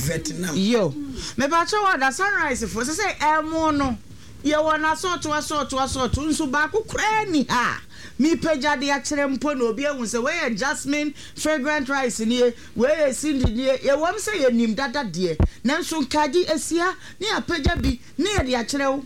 Vietnam. Yo. Mepakyɛw ada Sunrise foɔ sɛsɛi ɛmo no yɛwɔ no asɔɔto asɔɔto asɔɔto nso baako koraa nni ha a mepagya de akyerɛ mpo na obi ahu sɛ wei yɛ Jasmine fragrant rice nie wei yɛ Cindy nie yɛwɔm sɛ yɛnim dada deɛ nanso nkaadi asia ne yɛapagya bi ne yɛde akyerɛ wo.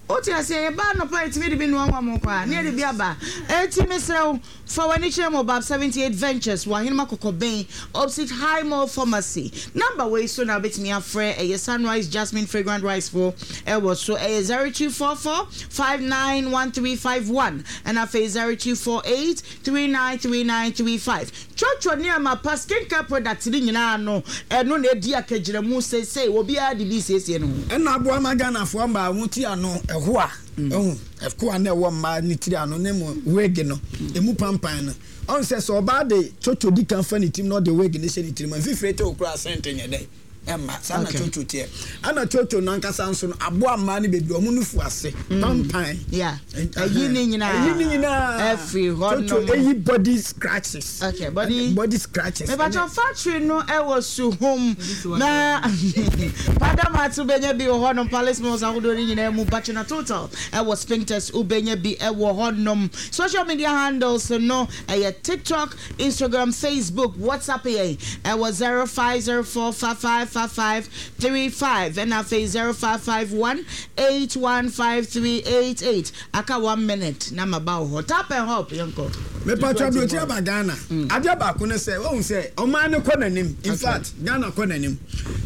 Wote aseɛ? Yɛba anɔpa a, yɛtumi de bi noa nwa mo koraa, na yɛde bi aba. Enti mesrɛ wo, fa w'ani kyerɛ Mobab 78 Ventures wɔ Ahenema Kɔkɔbɛn, opposite High Mall Pharmacy. Number wei so na wobɛtumi afrɛ, ɛyɛ Sunrise Jasmine Fragrant Rice foɔ ɛwɔ so, ɛyɛ 0244 591351, ɛna afei 0248 393935. Cwɔcwɔ nneɛma pa, skin care products no nyinaa no, ɛno na ɛdi akagyinamu seesei, obiara de bi resiesie ne ho. Ɛna aboa ma Ghanafoɔ mmaa wɔn ti ano ɛhoa, wahu, ɛkoa na ɛwɔ mmaa ne tiri ano ne mo wig no, ɛmu pampan no. Ɔhu sɛ sɛ ɔbaa de cwɔcwɔ di kan fa ne tirim na ɔde wig no hyɛ ne tirim a, mfifire te wo koraa scent nyɛ dɛn? Ɛmma. Saa na cwɔcwɔ teɛ. Ɛna cwɔcwɔ no ankasa nso no, aboa mmaa no bebree, wɔn nufu ase pampan. Yeah. Ɛyi ne nyinaa. Ɛyi ne nyinaa. Ɛfiri hɔ nom. Cwɔcwɔ ɛyi body scratches. Okay, body. Body scratches. Mepakyɛw factory no ɛwɔ Suhum na Padamat wobɛnya bi wɔ hɔ nom, Palace Malls ahodoɔ no nyinaa mu, Bachena Total ɛwɔ Spintex wobɛnya bi ɛwɔ hɔ nom. Social media handles no ɛyɛ TikTok, Instagram, Facebook, WhatsApp yɛn ɛwɔ 0504 5555 35 ɛna afei 0551 815388. Aka one minute na maba wo hɔ. Tap and hop yɛnkɔ. Mepatwa aburokyi aba Ghana. Adeɛ baako ne sɛ wahu sɛ ɔman no kɔ n'anim. In fact Ghana kɔ n'anim.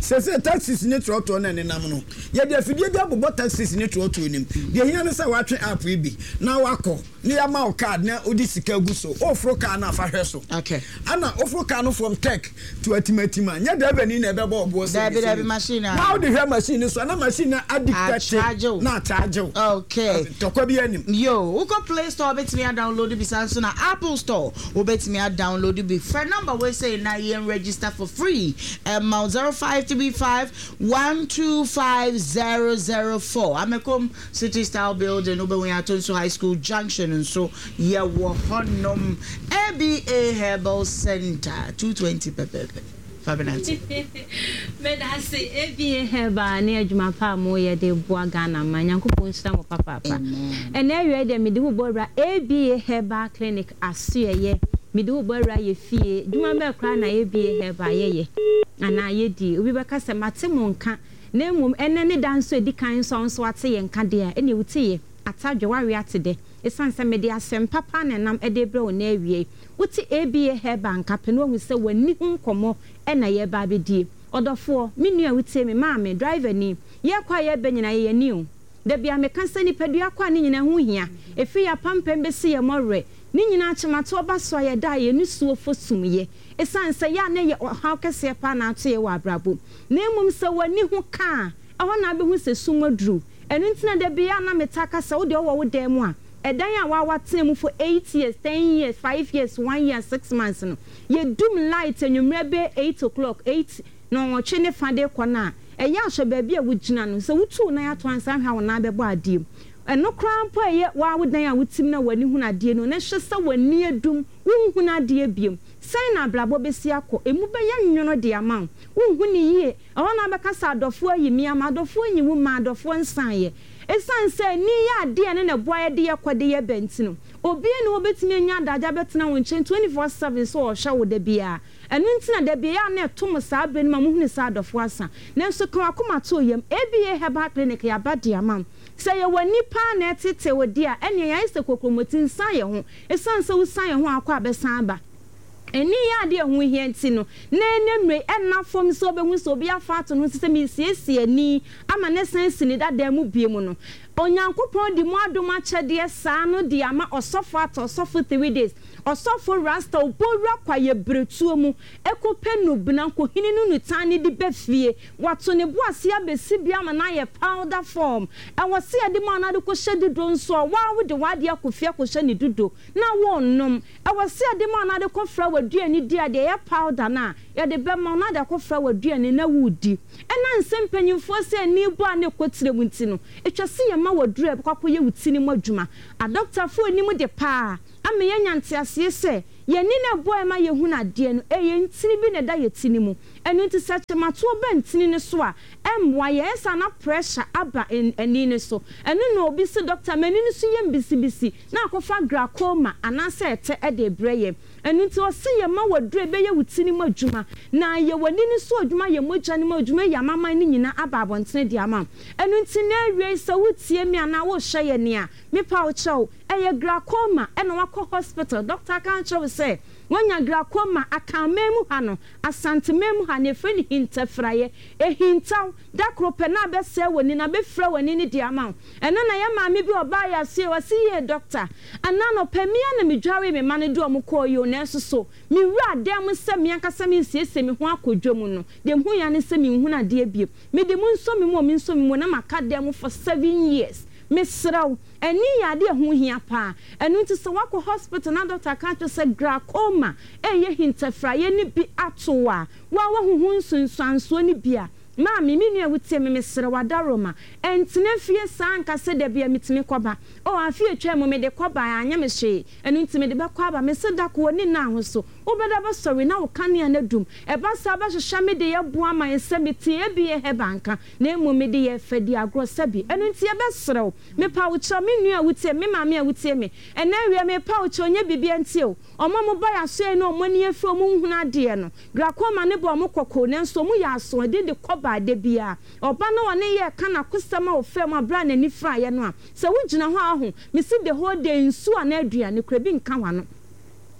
Sese taxis ne trɔtrɔ na ɛnenam no. Yɛde afidie bi abobɔ taxis ne trɔtrɔ nim. Deɛ ehia ne sɛ watwe app yi bi na wakɔ. Na yɛama wo card na wode sika gu so. Woforo car no a fa hwɛ so. Okay. Ana woforo car no from Tech to Atimatim a, nyɛ driver ni na ɛbɛbɔ ɔboɔ sɛ Dabi dabi machine a. Na wode hwɛ machine no so a na machine no adictate na acharge wo. Okay. Tɔkwa bi anim. Yo, wokɔ Play Store wobɛtumi adownload bi saa nso na Apple Store wobɛtumi adownload bi. Frɛ number wei sei na yɛn register for free ɛma wo 0535 125004. Amekom City Style Building, wobɛhu yɛn Atonsu High School Junction nso yɛwɔ hɔnom. ABA Herbal Centre, 2:20 pɛpɛɛpɛ. Fa bɛnante. Medase ABA Herbal ne adwuma pa a moyɛ de boa Ghana man. Nyankopɔn nhyira mo papaapa. Ɛnɛ awia yi deɛ mede wo bɔ wura ABA Herbal Clinic asoɛyɛ. Mede wo bɔ wura yɛ fie. Dwuma bɛɛ koraa na ABA Herbal yɛyɛ anaa yɛdi? Obi bɛka sɛ mate mo nka. Na mmom ɛnnɛ ne da nso a ɛdi kan nso a wo nso woate yɛn nka deɛ a, ɛnneɛ woteeɛ, atadwe, woawe ate dɛ, ɛsiane sɛ mede asɛm papa na ɛnam de rebrɛ wo nnɛ awia yi. Wote ABA Herbal nka pɛ na woahu sɛ w'ani ho nkɔmmɔ na yɛreba abɛdie. Ɔdɔfoɔ, me nua a wotie me, maame, driverni, yɛrekɔ a yɛreba nyinaa yɛyɛ ani o. Da biara meka sɛ nipadua kɔ a ne nyinaa ho hia, ɛfiri yɛn apampam bɛsi yɛn mmɔwerɛ, ne nyinaa kyematoɔ ba so a yɛda a yɛn nisuo fɔ sumyɛ. Ɛsiane sɛ yɛ a na ɛyɛ ɔhaw kɛseɛ paa na ato yɛn wɔ abrabɔ mu. Na mmom sɛ w'ani ho ka a, ɛhɔ na wobɛhu sɛ sum aduru. Ɛno nti na da biara na metaa ka sɛ, wo deɛ wowɔ wo dan mu a, ɛdan a woa woatena mu for eight years, ten years, five years, one year, six months no, yɛdum light anwummerɛ bɛyɛ eight o'clock, eight, nnɔnwɔtwe ne fa de rekɔ no a, ɛyɛ a hwɛ baabi a wogyina no. Sɛ wotu wo nan ato ansa hwɛ a wo nan bɛbɔ adeɛ mu. Ɛno koraa mpo a ɛyɛ woa wo dan a wote mu no a w'ani hunu adeɛ no, na hwɛ sɛ w'ani adum, wonhunu adeɛ bio. Sɛn na abrabɔ bɛsi akɔ? Emu bɛyɛ nwono de ama wo. Wonhu no yie. Ɛhɔ na wobɛka sɛ, Adɔfoɔ ayi me ama. Adɔfoɔ nyi wo mmaa, adɔfoɔ nsaeɛ. Ɛsiane sɛ ani yɛ adeɛ a ɛno na ɛboa yɛde yɛ kɔ de yɛ ba nti no, obiara nni hɔ a ɔbɛtumi anya adagyeɛ abɛtena wo nkyɛn 24/7 sɛ ɔrehwɛ wo da biara. Ɛno nti na da biara ɛyɛ a na ɛto mo saa berɛ no ma mohunu sɛ adɔfoɔ asa. Nanso ka w'akoma to wo yam. ABA Herbal Clinic yɛaba de ama wo. Sɛ ɛyɛ w'ani paa na ɛreteetee wo deɛ a, ɛnneɛ yɛayɛ sɛ kokromoti, nsan yɛn ho. Esiane sɛ wosian yɛn ho a akɔ a bɛsan aba. Ani yɛ ade a ɛho hia nti no, na ɛnnɛ mmere yi, ɛnna fam sɛ wobehu sɛ obi afa ato ne ho so sɛ meresiesie ani ama no asan asi ne dada mu bio no. Onyankopɔn de mu adom akyɛdeɛ saa no de ama ɔsɔfo ato ɔsɔfo 3 days, ɔsɔfo Rasta obowura kwaeɛ berɛtuo mu kɔpɛ nnubena nkohini no nutan no de ba fie. Wato ne bo ase abɛsi bi ama no ayɛ powder form. Ɛwɔ sɛ yɛde ma no de kɔhyɛ dudo nso a, wo ara wode w'adeɛ akɔ fie akɔhyɛ ne dudo na worenom. Ɛwɔ sɛ yɛde ma no de kɔfra w'aduane di a, deɛ ɛyɛ powder no a, yɛde bɛma wo na wode akɔfra w'aduane na woredi. Ɛnam sɛ mpanimfoɔ sɛ ani bɔ a na ɛkɔ tire mu nti no, ɛtwa sɛ yɛma wo aduro a ɛbɛkɔ akɔyɛ wo ti no mu adwuma. Adɔkotafoɔ nim de pa ara ama yɛanya nteaseɛ sɛ, Yɛn ani no a ɛboa yɛn ma yɛhunu adeɛ no, ɛyɛ ntini bi na ɛda yɛn ti no mu. Ɛno nti sɛ kyematoɔ ba ntini no so a, ɛmmoa yɛn. Ɛyɛ saa na pressure aba ani no so. Ɛno na obi se, Dɔkta, m'ani no so yɛ me bisibisi, na akɔfa glaucoma anaasɛ ɛtɛ de rebrɛ yɛn. Ɛno nti ɔse yɛma wo aduro a ɛbɛyɛ wo ti no mu adwuma, na ayɛ w'ani no so adwuma, ayɛ mogya no mu adwuma, ayi amaman no nyinaa aba abɔntene de ama wo. Ɛno nti nnɛ awiei sɛ woretie me anaa worehwɛ yɛn a, mepa wo kyɛw, ɛyɛ glaucoma na woakɔ hospital, doctor aka akyerɛ wo sɛ woanya glaucoma, Akanman mu ha no, Asanteman mu ha no yɛfrɛ no hintafiraeɛ, ɛhintaw, da koro pɛ na abɛsɛe w'ani na abɛfira w'ani no de ama wo. Ɛno na yɛn maame bi a ɔbaa yɛn asoɛe, ɔse yie doctor, ɛnnɛ anɔpa me ara na medwaree me mma no de wɔn kɔɔ yi o, nanso so me wuraa dan mu sɛ me ankasa meresiesie me ho akɔ dwa mu no, deɛ mehuiɛ ara ne sɛ menhunu adeɛ bio. Mede mo nsɔ me mu o, mensɔ me mu o, na maka dan mu for 7 years. Mesrɛ wo, ani yɛ adeɛ a ɛho hia paa. Ɛno nti sɛ woakɔ hospital na doctor aka akyerɛ wo sɛ glaucoma ɛreyɛ hintafiraeɛ no bi ato wo a, wo ara woahu ho nsunsuansoɔ no bi a, Maame, me nua a wotie me, mesrɛ wo adaworoma, ɛntena fie saa nka sɛ da biara metumi kɔba. Oh, afe a etwaam mu mede kɔbae, anyɛ me hwee, ɛno nti mede bɛkɔ aba. Mese da ko, w'ani nna ho so, wobɛda bɛsɔre na wo kanea no adum. Ɛba saa wobɛhwehwɛ me de aboa ma yɛn sɛ mete ebia herbal nka, na mmom mede yɛ fɛ di agorɔ sɛbi. Ɛno nti yɛbɛsrɛ wo, mepa wo kyɛw, me nua a wotie me, me maame a wotie me, ɛnnɛ awia mepa wo kyɛw, nyɛ biribiara nti o, wɔn a wɔba yɛn asoɛe na wɔn ani afiri wɔn nhunu adeɛ no, Glaucoma no bɔ wɔn kɔkɔ, nanso wɔyɛ asoɔden de kɔ baa da biara. Ɔba no a ɔne yɛɛ ka n'akosɛm a ɔfaa mu bere a n'ani firaeɛ no a, sɛ wogyina hɔ a ahu, mese the whole day nsuo anaa aduane koraa bi nka w'ano.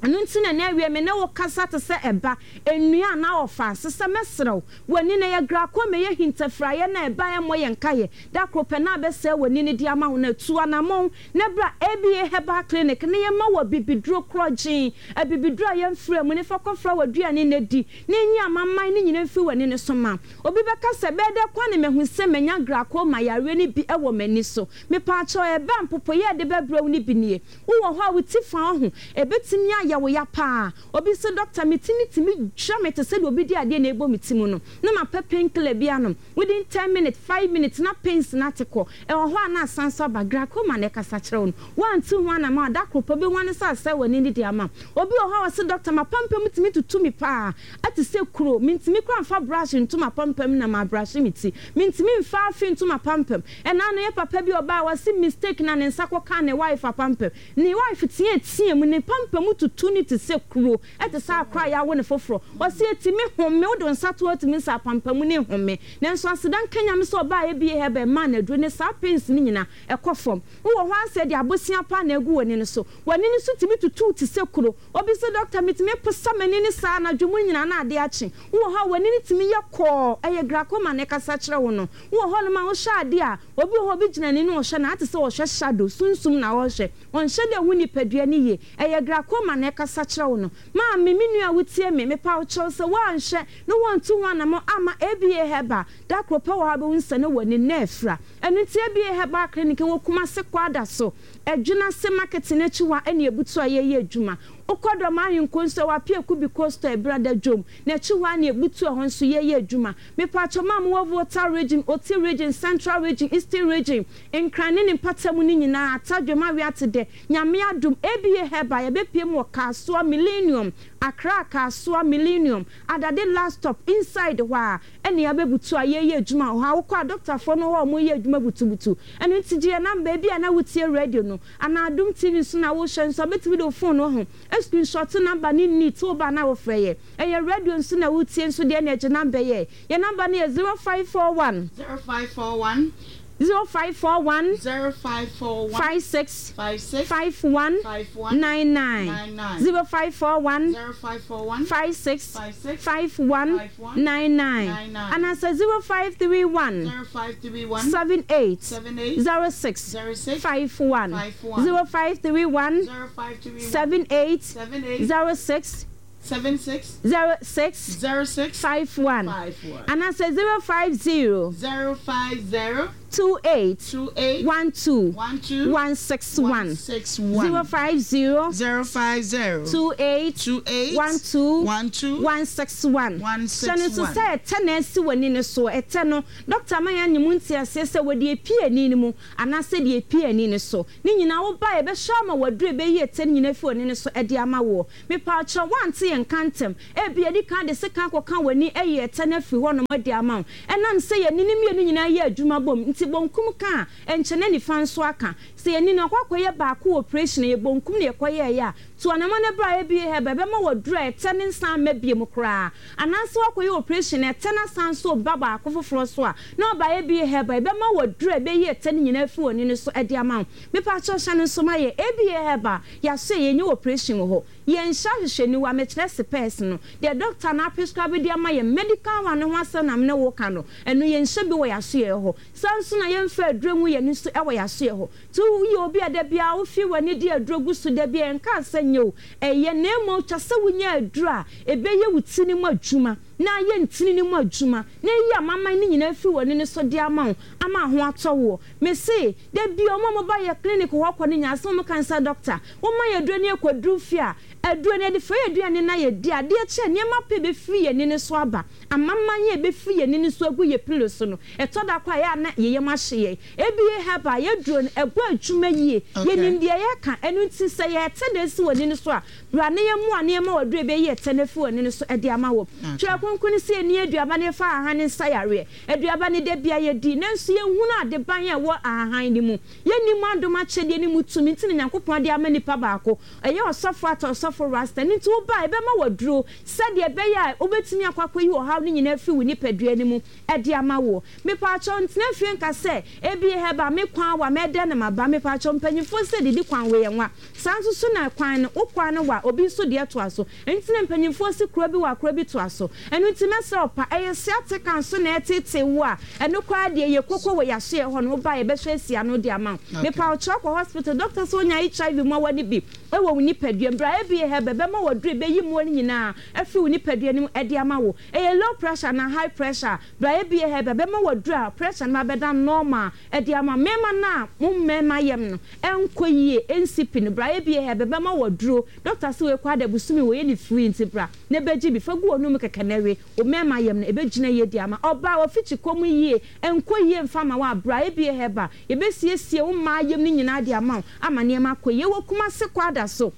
Ɛno nti na ɛnnɛ awia me ne wo kasa te sɛ ɛba, nnua anaa ɔfaase sɛ mɛsrɛ wo, w'ani no ɛyɛ glaucoma, ɛyɛ hintafiraeɛ no a ɛba ɛmmɔ yɛn nkaeɛ, da koro pɛ na abɛsɛe w'ani no de ama wo no, tu anammɔn na bra ABA Herbal Clinic na yɛmma wo abibiduro korɔgyenn, abibiduro a yɛmfraa mu, na fa kɔfra w'aduane na di, na enyi amamman no nyinaa mfiri w'ani no so ma. Obi bɛka sɛ, Ɛbɛyɛ dɛ koraa na mahu sɛ manya glaucoma yareɛ no bi wɔ m'ani so. Mepaakyɛw, ɛbɛ a mpopoeɛ a ɛde bɛbrɛ wo no bi nie. Wowɔ hɔ a wo ti fa wo ho, ɛbɛtumi ayɛ wo ya paa. Obi se, Dɔkta, me ti no tumi dwira me te sɛ deɛ obi de adeɛ na ɛrebɔ me ti mu no, na mapɛ painkiller bi anom. Within 10 minutes, 5 minutes na pains no ate kɔ. Ɛwɔ hɔ a na asan so aba. Glaucoma na ɛkasa kyerɛ wo no. Woantu ho anamɔ a, da koro pɛ wobɛhu ane sɛ asɛe w'ani no de ama wo. Obi wɔ hɔ a ɔse, Doctor, m'apampam tumi tutu me paa. Ɛte sɛ kuro. Mentumi koraa mfa brush nto m'apampam na mabrushe me ti. Mentumi mfa afe nto m'apampam. Ɛna ano yɛ papa bi a ɔbaeɛ, ɔse mistake na ne nsa kɔkaa ne wife apampam. Ne wife teateaa mu, ne pampam tutu no te sɛ kuro. Ɛte sɛ akora a yɛawo no foforɔ. Ɔse ɛtumi home, wode wo nsa to hɔ tumi sɛ apampamu no nhome. Nanso aseda nka Nyame sɛ ɔbaa ABA Herbal maa no aduro ne saa pains no nyinaa ɛkɔ fam. Wowɔ hɔ ara sɛ ɛde abosea paa na agu w'ani no so. W'ani no so tumi tutu wo te sɛ kuro. Obi se doctor metumi posa m'ani no saa anadwo mu nyinaa na adeɛ akye. Wowɔ hɔ a w'ani no tumi yɛ kɔɔ, ɛyɛ glaucoma na ɛkasa kyerɛ wo no. Wowɔ hɔnom a wohwɛ adeɛ a, obi wɔ hɔ a obi gyina n'ani na ɔhwɛ no a, te sɛ ɔhwɛ shadow, sunsum na ɔrehwɛ. Ɔnhyɛ da nhu nipadua no yie. Ɛyɛ glaucoma na ɛkasa kyerɛ wo no. Maame, me nua a wotie me, mepa wo kyɛw sɛ woanhwɛ na woantu ho anamɔ amma ABA Herbal da koro pɛ wɔ hɔ a wobɛhu sɛ na w'ani na afira. Ɛno nti ABA Herbal Clinic wɔ Kumasi Kwadaso, Adwinase Market no akyi hɔ a ɛne abutu a yɛyɛ adwuma. Wokɔ Dɔm Ahenkuro nso ɛwɔ Apiaku Biko Store Brada Dwom no akyi hɔ a ne abutu ɛhɔ nso yɛyɛ adwuma. Mepaakyɛw mo a mowɔ Volta Region, Oti Region, Central Region, Eastern Region, Nkran ne ne mpatamu no nyinaa, Atadwom, Aweatedɛ, Nyame adom, ABA Herbal, yɛbɛpue mu wɔ Kasoa Millennium, Accra Kasoa Millennium, Adade last stop, inside hɔ a ɛne yɛabɛbutu a yɛreyɛ adwuma wɔ hɔ a, wokɔ a dɔktafoɔ no hɔ a wɔreyɛ adwuma butubutu. Ɛno nti gye yɛn number, ebia na wotie radio no anaa Adom TV nso na wohwɛ nso a, wobɛtumi de wo phone no ho screenshot number no neat, woba a na wofrɛ yɛn. Ɛyɛ radio nso na wotie nso deɛ ɛne gye number yɛ. Yɛn number no yɛ 0541. 0541. 0541. 0541. 56. 56. 51. 51. 99. 99. 0541. 0541. 56. 56. 51. 51. 99. 99. Anaasɛ 0531. 0531. 78. 78. 06. 06. 51. 51. 0531. 0531. 78. 78. 06. 76. 06. 06. 51. 51. Anaasɛ 050. 050. 28 28 12 12 161 161 050 050 28 28 12 12 161. Hyɛ no nso 161. sɛ ɛtɛ na asi w'ani no so. Ɛtɛ no, dɔkta ama yɛanya mu nteaseɛ sɛ wɔde apue ani no mu anaasɛ deɛ epue ani no so. Ne nyinaa woba a yɛbɛhwɛ ama wo aduro a ɛbɛyi ɛtɛ no nyinaa afiri w'ani no so de ama woɔ. Mepaakyɛw, woante yɛn nka ntɛm? Ebia yɛadi kan de sekan akɔka w'ani ayi ɛtɛ no afiri hɔnom de ama wo. Ɛnam sɛ yɛn ani no mmienu nyinaa yɛ adwuma bom nti, bonkum ka a, ɛnkyɛ na nifa nso aka. Sɛ yɛn ani no akɔ akɔyɛ baako wɔ oprehyɛn a, ɛyɛ bonkum na yɛkɔyɛeɛ a, tu anamɔn na bra ABA Herbal, ɛbɛma wo aduro a ɛtɛ no nsan mma biom koraa. Anaasɛ woakɔyɛ oprehyɛn na ɛtɛ no asan nso reba baako foforɔ so a, na woaba ABA Herbal, ɛbɛma wo aduro a ɛbɛyi ɛtɛ no nyinaa afiri w'ani no so de ama wo. Mepaakyɛw hyɛ no nso ma yɛn ABA Herbal, yɛasoɛ, yɛnyɛ oprehyɛn wɔ hɔ. Yɛnhyɛ ahwehwɛniwa, mekyerɛ sepɛɛse no, deɛ dɔkta no aprescribe de ama yɛn, medical one no ho asɛm na me ne wo reka no, ɛno yɛnhyɛ bi wɔ yɛn asoɛeɛ hɔ. Saa nso na yɛmfa aduro ngu yɛn ani so wɔ yɛn asoɛeɛ hɔ. Nti woyɛ obi a da biara wofi w'ani de aduro gu so da biara, yɛnkaa sɛ nyɛ o, ɛyɛ, na mmom twa sɛ wonya aduro a ɛbɛyɛ wo ti no mu adwuma na ayɛ ntini no mu adwuma na ayi amaman no nyinaa afiri w'ani no so de ama wo ama ho atɔ woɔ. Mese, da biara wɔn a wɔba yɛn clinic hɔ kɔ no nyinaa asɛm a wɔka ne sɛ, Dɔkta, Woma yɛn aduro no yɛkɔduru fie a, aduro no yɛde fra yɛn aduane na yɛdi a, adeɛ kye a nneɛma pii bɛfiri yɛn ani no so aba. Amaman a ɛbɛfiri yɛn ani no so agu yɛn pillow so no, ɛtɔ da koraa a ɛyɛ a na yɛn yam ahye yɛn. ABA Herbal, yɛn aduro no, ɛbɔ adwuma yie. Yɛnim deɛ yɛreka. Ɛno nti sɛ yɛrete na ɛsi w'ani no so a, bra na yɛmmoa na yɛmma wo aduro a ɛbɛyi ɛtɛ no afiri w'ani no so de ama wo. Twerɛ Kronkron no se yɛnni aduaba na yɛfa ahahan nsa yareɛ. Aduaba no da biara yɛdi, nanso yɛnhunu adeban a ɛwɔ ahahan no mu. Yɛnni mo adom akyɛdeɛ no mu tumi nti na Nyankopɔn de ama nipa baako, ɛyɛ ɔsɔfo ata ɔsɔfo Rasta, ɛno nti woba a yɛbɛma wo aduro sɛdeɛ ɛbɛyɛ a wobɛtumi akɔ akɔyi ɔhaw no nyinaa afiri wo nipadua no mu de ama woɔ. Mepaakyɛw ntena fie nka sɛ, Ebie hɛba, me kwan wa, mɛdɛn na maba, mepaakyɛw mpanyinfoɔ sɛ didi kwan wei ɛnwa, saa nso so na kwan no, wo kwan no wa, obi nso deɛ toa so. Ɛno nti na mpanyimfoɔ se kuro bi wɔ a kuro bi toa so. Ɛno nti mɛsrɛ wo pa, ɛyɛ sciatica nso na ɛreteetee wo a, ɛno koraa deɛ yɛ koko wɔ yɛasoɛɛ hɔ no, woba a yɛbɛhwɛ asi ano de ama wo. Mepa wo kyɛw kɔ hospital, doctor sɛ wonya HIV mmoawa no bi wɔ wo nipadua mu, bra ABA Herbal bɛma wo aduro a ɛbɛyi mmoa no nyinaa afiri wo nipadua no mu de ama wo. Ɛyɛ low pressure anaa high pressure a, bra ABA Herbal bɛma wo aduro a pressure no bɛda normal de ama wo. Mmarima no a mo mmarima yam no ɛnkɔ yie, ɛnsi pi no, bra ABA Herbal bɛma wo aduro. Doctor se wei koraa de bosome wei yɛ no free nti bra na bɛgye bi fa gu w'anum kɛkɛ na we wo mɛɛma yam no ɛbɛgyina yie de ama ɔbaa wafikyi kɔm yie ɛnkɔ yie mfa ma wo a bra ABA Herbal yɛbɛsiesie wo mmaa yam no nyinaa de ama wo ama nneɛma akɔ yie wɔ Kumasi Kwadaso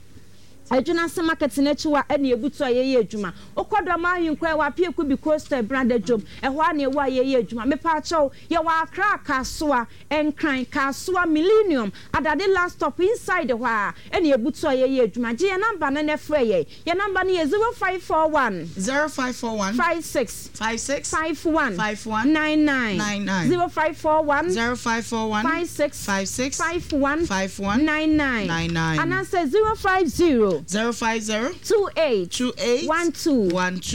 Adwunase market no akyi hɔ a ɛna yɛbutu a yɛyɛ adwuma wokɔ Dɔm Ahenkura ɛwɔ Apiaku bi Coastal Brada dwom ɛhɔ a na yɛwɔ a yɛyɛ adwuma mepaakyɛw yɛwɔ Accra Kasoa Nkran, Kasoa, Millennium, Adade last stop inside hɔ ara ɛna yɛbutu a yɛyɛ adwuma. Gye yɛn number no na frɛ yɛn. Yɛn number no yɛ 0541. 0541. 56. 56. 51. 51. 99. 99. 0541. 0541. 56. 56. 51. 51. 99. 99. Anaasɛ 050. 050. 28. 28. 12. 12.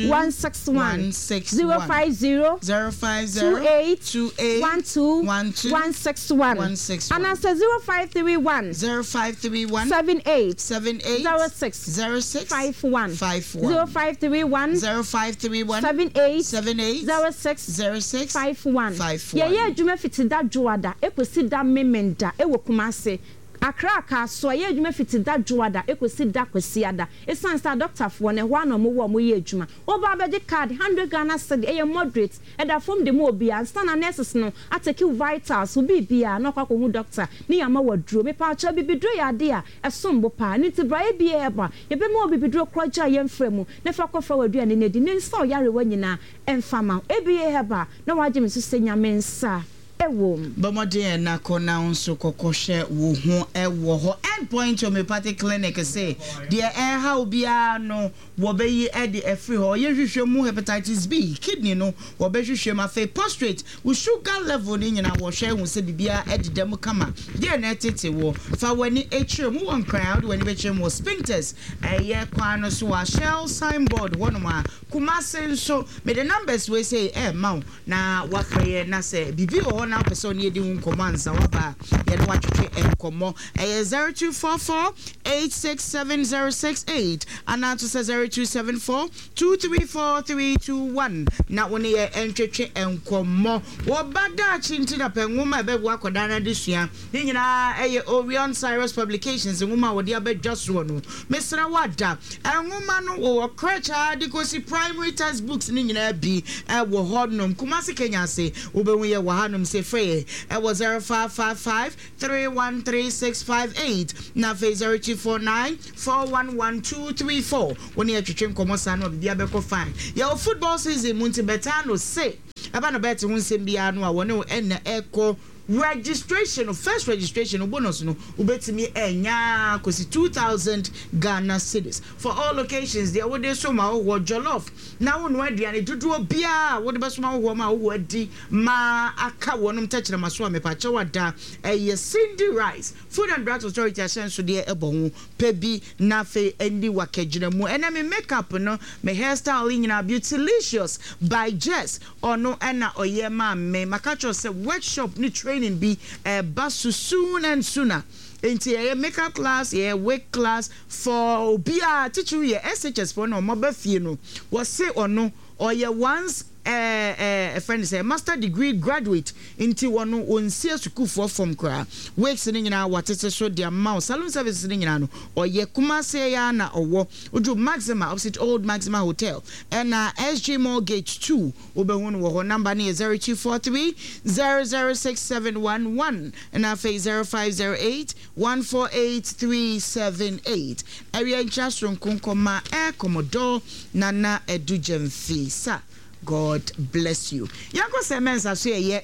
161. 161. 050. 050. 28. 28. 12. 12. 161. 161. Anaasɛ 0531. 0531. 78. 78. 06. 06. 51. 51. 0531. 0531. 78. 78. 06. 06. 51. 51. Yɛyɛ adwuma fiti da Dwoada kɔsi da Memenda wɔ Kumasi. Accra Kasoa, yɛyɛ adwuma fiti da Dwoada kɔsi da Kwasiada. Ɛsiane sɛ adɔktafoɔ no, ɛhɔ ara na wɔwɔ a wɔyɛ adwuma. Woba abɛgye card, hundred Ghana cedi, ɛyɛ moderate, ɛda fam de ma obiara. Ansa na nurses no atake wo vitals, wo biribiara, na wakɔ akɔhu doctor ne yɛama wo aduro. Mepaakyɛw, abibiduro yɛ adeɛ a ɛsom bo paa. Ɛno nti bra ABA Herbal, yɛbɛma wo abibiduro korɔgye a yɛmfra mu, na fa kɔfra w'aduane no adi, na nsa wo yarewa nyinaa mfa mma wo. ABA Herbal, na wagye me so sɛ Nyame nsa wɔ mu. Bɔ mmɔden na kɔ na wo nso kɔkɔhwɛ wo ho wɔ hɔ. End Point Homeopathic Clinic se deɛ ɛreha wo biara no wɔbɛyi de afiri hɔ. Wɔyɛ nhwehwɛmu hepatitis B, kidney no wɔbɛhwehwɛ mu. Afei prostrate, wo sugar level no nyinaa wɔhwɛ hu sɛ biribiara deda mu kama. Deɛ na ɛtete woɔ, fa w'ani kyerɛ mu. Wowɔ Nkran a, wode w'ani bɛkyerɛ mu wɔ Spintex ɛyɛ kwan no so a Shell signboard hɔnom a. Kumasi nso, mede numbers wei sei rema wo na woafrɛ yɛn na sɛ biribi wɔ hɔ na. na wopɛ sɛ ɔne yɛdi ho nkɔmmɔ ansa woaba a, yɛne wo atwetwe nkɔmmɔ. Ɛyɛ 0244 867068 anaa nso sɛ 0274 234321 na wo ne yɛn ntwetwe nkɔmmɔ. Wo ba daakye nti na pɛ nwoma a ɛbɛboa akwadaa no adesua. Ne nyinaa ɛyɛ Orion Cyrus Publications nwoma a wɔde aba dwa soɔ no. Mesrɛ wo ada nwoma no wɔ crèche ara de kɔsi primary text books no nyinaa bi wɔ hɔ nom. Kumasi Kenya ase wobɛhu yɛ wɔ hanom se frɛ yɛn wɔ 0555 313658 na afei 0249 411234. Wo ne yɛ twetwe nkɔmmɔ saa no a biribiara bɛkɔ fine. Yɛwɔ football season mu nti bɛtaa no se ɛba no bɛɛte ho nsɛm biara no a wɔne wo ɛnna ɛkɔ registration no, first registration no bonus no wobɛtumi anya kɔsi 2000 Ghana cedis for all locations. Deɛ wode som ahɔhoɔ jollof na wonoa aduane dodoɔ biara a wode bɛsom ahɔhoɔ ma ahɔhoɔ adi ma aka wɔnom tɛkyerɛma so a, mepakyɛw ada ɛyɛ Cindy Rice. Food and Drugs Authority ahyɛnsodeɛ bɔ ho pɛ bi na afei ɛndi w'akagyina mu. Ɛnɛ me makeup no, me hair style yi nyinaa Beautylicious by Jess ɔno na ɔyɛ maa me. Maka akyerɛ wo sɛ workshop ne training bi ɛreba so soon and sooner. Enti yɛyɛ makeup class, yɛyɛ wig class for obiara, titiriw yɛ SHS foɔ na wɔn aba fie no. Wɔse ɔno ɔyɛ once ɛɛ ɛfrɛ no sɛ master degree graduate nti wɔno wɔnsi asukuufoɔ fam koraa. Wigs no nyinaa wɔatete so de ama wo. Saloon services no nyinaa no ɔyɛ. Kumasi yi ara na ɔwɔ. Woduru Maxima opposite old Maxima Hotel ɛna SG Mall gate 2 wobɛhu no wɔ hɔ. Number no yɛ 0243 006711 ɛna afei 0508 148378. Awia nkyia soronko nkɔma Air Commodore Nana Adu Gyamfi sir, God bless you. Yɛnkɔ sɛ mɛnsa so ɛyɛ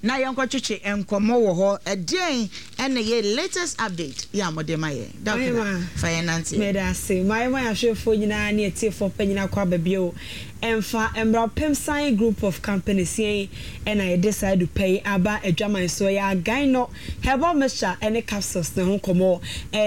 na yɛnkɔ twetwe nkɔmmɔ wɔ hɔ. Ɛdeɛn ɛna ɛyɛ latest update yɛ a mode ma yɛn? Dɔkena, fa yɛn nanteɛ. Meda ase. Mayɛ ma yɛahwɛfoɔ nyinaa ne atiefoɔ pɛ nyinaa kɔ aba bio. Ɛmfa mmra Pemsan Group of Companies yɛn na yɛde saa adu pa yi aba adwaman so. Ɛyɛ Againɔ Herbal Mixture ne Capsules ne ho nkɔmmɔ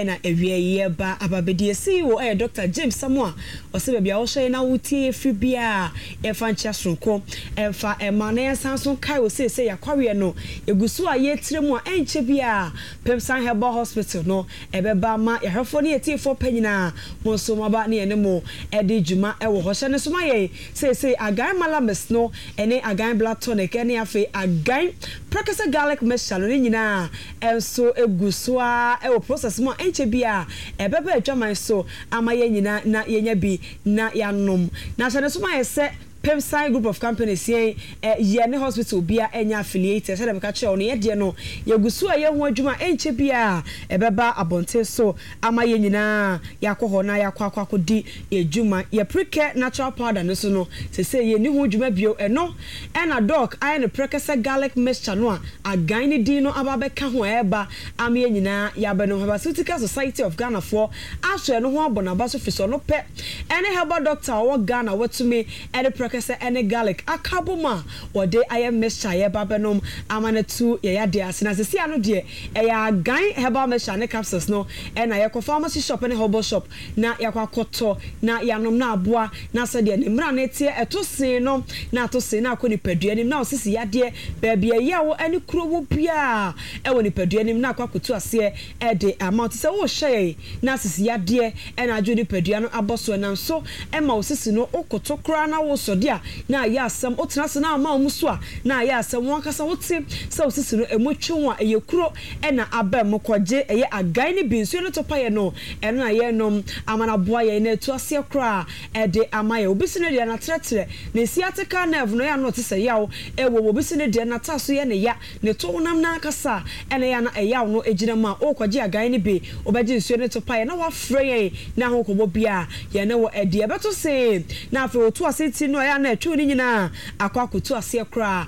na awia yi yɛreba aba abɛdi. Yɛn CEO yɛ Dɔkta James Samoa. Ɔsɛ baabi a wohwɛ yɛn na wotie yɛn firi biara yɛmfa nkyea soronko mfa mma na yɛnsan nso nkae wo seesei yɛakwareɛ no yɛgu so a yɛretire mu a ɛnkyɛ biara Pemsan Herbal Hospital no ɛbɛba ama yɛahwɛfoɔ ne yɛtiefoɔ pɛ nyinaa mo nso moaba ne yɛne mo adi dwuma wɔ hɔ. Hyɛ no nso ma yɛn seesei Agan Malamis no ne Agan Blood Tonic ne afei Agan Prekese Garlic Mixture no ne nyinaa nso gu so ara wɔ process mu a ɛnkyɛ biara ɛbɛba adwaman so ama yɛn nyinaa na yɛanya bi na yɛanom. Na hyɛ no nso ma yɛn sɛ Pemsan Group of Companies yɛn yɛ ne hospital biara nyɛ affiliated sɛdeɛ meka kyerɛɛ wo no yɛn deɛ no yɛgu so a yɛ ho adwuma a ɛnkyɛ biara ɛbɛba abɔnten so ama yɛn nyinaa yɛakɔ hɔ na yɛakɔ akɔ akɔdi yɛn dwuma. Yɛ Precare Natural Powder no nso no seesei yɛnni ho dwuma bio ɛno ɛna Doc ayɛ no prɛkɛsɛ garlic mixture no a Agan ne din no aba abɛka ho a ɛreba ama yɛn nyinaa yɛabɛnom. Herbaceutical Society of Ghana foɔ asɔ ɛno ho abɔ n'aba so firi sɛ ɔno pɛ ɛne herbal doctor a ɔwɔ Ghana a watumi de prɛkɛsɛ ne garlic aka abom a wɔde ayɛ mixture a yɛreba abɛnom ama no atu yɛn yadeɛ ase. Na seesei ano deɛ ɛyɛ Agan herbal mixture ne capsules no na yɛkɔ pharmacy shop ne herbal shop na yɛakɔ akɔtɔ na yɛanom na aboa na sɛdeɛ ne mmara no teɛ ɛto see no na ato see na akɔ nipadua no mu na ɔsisi yadeɛ baabi a ɛyaw ne kuro wɔ biara wɔ nipadua no mu na akɔ akɔtu aseɛ de ama wo. Te sɛ worehyɛ yɛn na sisi yadeɛ na adwo nipadua no abɔ so ɛnam so ma wo sisi no wokoto koraa na wosɔ de a na ayɛ asɛm, wotena ase na ama wo mu so a na ayɛ asɛm, wo ankasa wote sɛ wo sisi no ɛmu twe wo a ɛyɛ kuro na aba mu kɔgye ɛyɛ agan no bi nsuo no topaeɛ no ɛno na yɛnom ama no aboa yɛn na atu aseɛ koraa de ama yɛn. Obi se ne deɛ natrɛtrɛ ne sciatica nerve no ɛyɛ a na ɔte sɛ yaw wɔ mu, obi se ne deɛ nataso yɛ ne ya, ne to honam no ankasa na ɛyɛ a na ɛyaw no gyina mu a worekɔgye agan no bi, wobɛgye nsuo no topaeɛ na woafrɛ yɛn na ho nkɔmmɔ biara yɛne wo adi. Ɛbɛto see na afei woto ase ti no a ɛyɛ a na ɛtwe wo no nyinaa akɔ akɔtu aseɛ koraa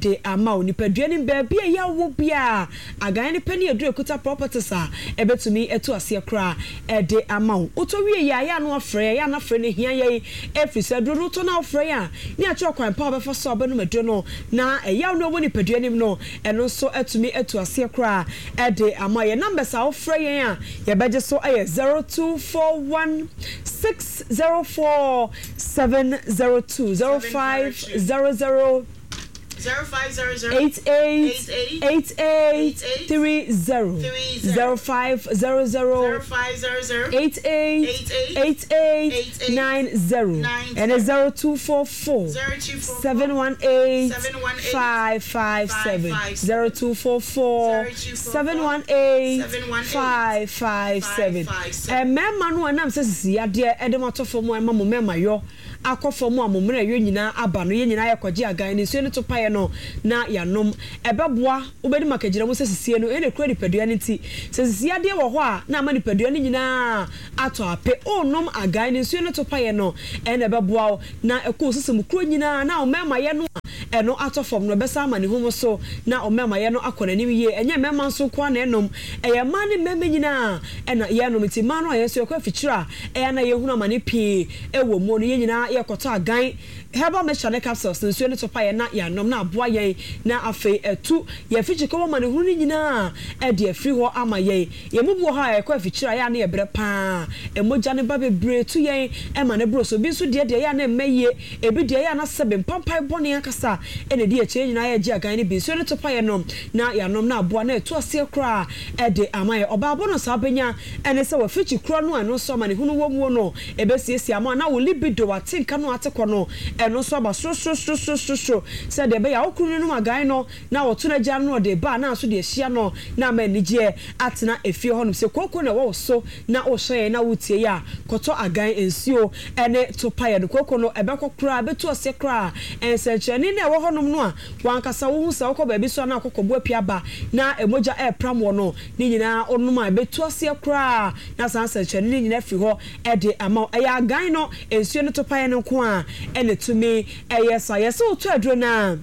de ama wo. Nipadua no mu baabi a ɛyaw wɔ biara, agan no pɛ ne aduru a ɛkuta properties a ɛbɛtumi atu aseɛ koraa de ama wo. Wotɔ wie yɛ a, ɛyɛ a na woafrɛ yɛn, ɛyɛ a na frɛ no hia yɛn ɛfiri sɛ aduro no wotɔ na wofrɛ yɛn a, ne yɛakyerɛ ɔkwan pa a wobɛfa so a wobɛnom aduro no na ɛyaw no a ɛwɔ nipadua no mu no, ɛno nso atumi atu aseɛ koraa de ama wo. Yɛn numbers a wofrɛ yɛn a yɛbɛgye so yɛ 0241 604 702, 0500. 88 88 30, 0500 88 88 90 ɛne 0244 718 557, 0244 718 557. Mmarima no a ɛnam sɛ sisi yadeɛ de mo ato fam a ɛma mo mmarima yɔ akɔ fam a mo mmerɛyɔ nyinaa aba no, yɛn nyinaa yɛkɔgye agan no nsuo no to paeɛ no na yɛanom. Ɛbɛboa, wobɛdi makagyina mu sɛ sisie no, ɛyɛ na ɛkura nipadua no nti. Sɛ sisi yadeɛ wɔ hɔ a, na ama nipadua no nyinaa atɔ ape. Worenom agan no nsuo no to paeɛ no, ɛyɛ na ɛbɛboa wo na ɛkɔ wo sisi mu kuro nyinaa na wo mmarima yɛ no a ɛno atɔ fam no, ɛbɛsan ama ne ho so na wo mmarima yɛ no akɔ n'anim yie. Ɛnyɛ mmarima nso nko ara na ɛnom, ɛyɛ mmaa ne mmarima nyinaa na yɛnom. Nti mmaa no a yɛn nso yɛkɔ afikyire a, ɛyɛ a na yɛhunu amane pii wɔ mu no, yɛn nyinaa yɛkɔtɔ agan herbal mixture ne capsules no, nsuo no to pa yɛn na yɛanom na aboa yɛn na afei atu yɛn afikyikɔ mu amanehunu no nyinaa de afiri hɔ ama yɛn. Yɛn mu bi wɔ hɔ a yɛkɔ afikyire a ɛyɛ a na yɛbrɛ pa ara, mogya no ba bebree tu yɛn ma no boro so. Ebi nso deɛ deɛ ɛyɛ a na ɛmma yie, ebi deɛ ɛyɛ a na sɛbe mpampae bɔne ankasa na ɛdi akyire. Yɛn nyinaa yɛgye agan no bi, nsuo no to pa yɛn nom na yɛanom na aboa na atu aseɛ koraa de ama yɛn. Ɔbaa bɔ no saa bɛnya ne sɛ wafikyi korɔ no a ɛno nso amanehunu wɔ muo no ɛbɛsiesie ama na wo libido atenka no ate kɔ no ɛno nso aba sorosorosorosoro sɛdeɛ ɛbɛyɛ a wo kunu no nom agan no na ɔto no agya no na ɔde ba a na nso de ahyia no na ama anigyeɛ atena efie hɔnom. Sɛ kooko na ɛwɔ wo so na wohwɛ yɛn na wotie yɛn a, kɔtɔ agan nsuo ne to paeɛ no. Kooko no ɛbɛkɔ koraa, ɛbɛtu aseɛ koraa. Nsɛnkyerɛnne no a ɛwɔ hɔnom no a w'ankasa wohu sɛ wokɔ baabi so a na akɔkɔbo apue aba na mogya repram wɔ no, Ne nyinaa wonom a, ɛbɛtu aseɛ koraa na saa nsɛnkyerɛnne no nyinaa afiri hɔ de ama wo. Ɛyɛ agan no, nsuo no topaeɛ no nko ara na ɛtumi yɛ saa. Yɛse wotɔ aduro no a,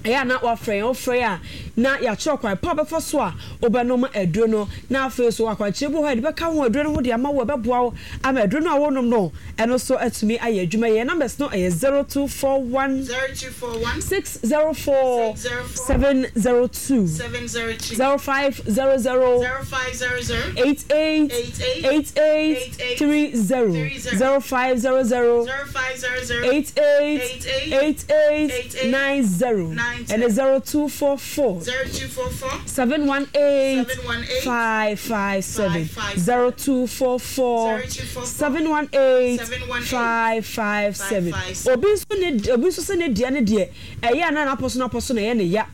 ɛyɛ a na woafrɛ yɛn. Wofrɛ yɛn a, na yɛakyerɛ wo kwan pa a wobɛfa so a wobɛnom aduro no. Na afei nso akwankyerɛ bi wɔ hɔ a yɛde bɛka ho aduro no ho de ama wo a ɛbɛboa wo ama aduro no a worenom no, ɛno nso atumi ayɛ adwuma yie. Yɛn numbers no yɛ 0241. 0241. 604. 604. 702. 702. 0500. 0500. 88. 88. 88. 88. 30. 30. 0500. 0500. 88. 88. 88. 88. 90. 90. Ɛne 0244. 0244. 718. 718. 557. 557. 0244. 0244. 718. 718. 557. 557. Obi nso ne obi nso sɛ ne deɛ ne deɛ ɛyɛ a na n'apɔ so n'apɔ so na ɛyɛ ne ya.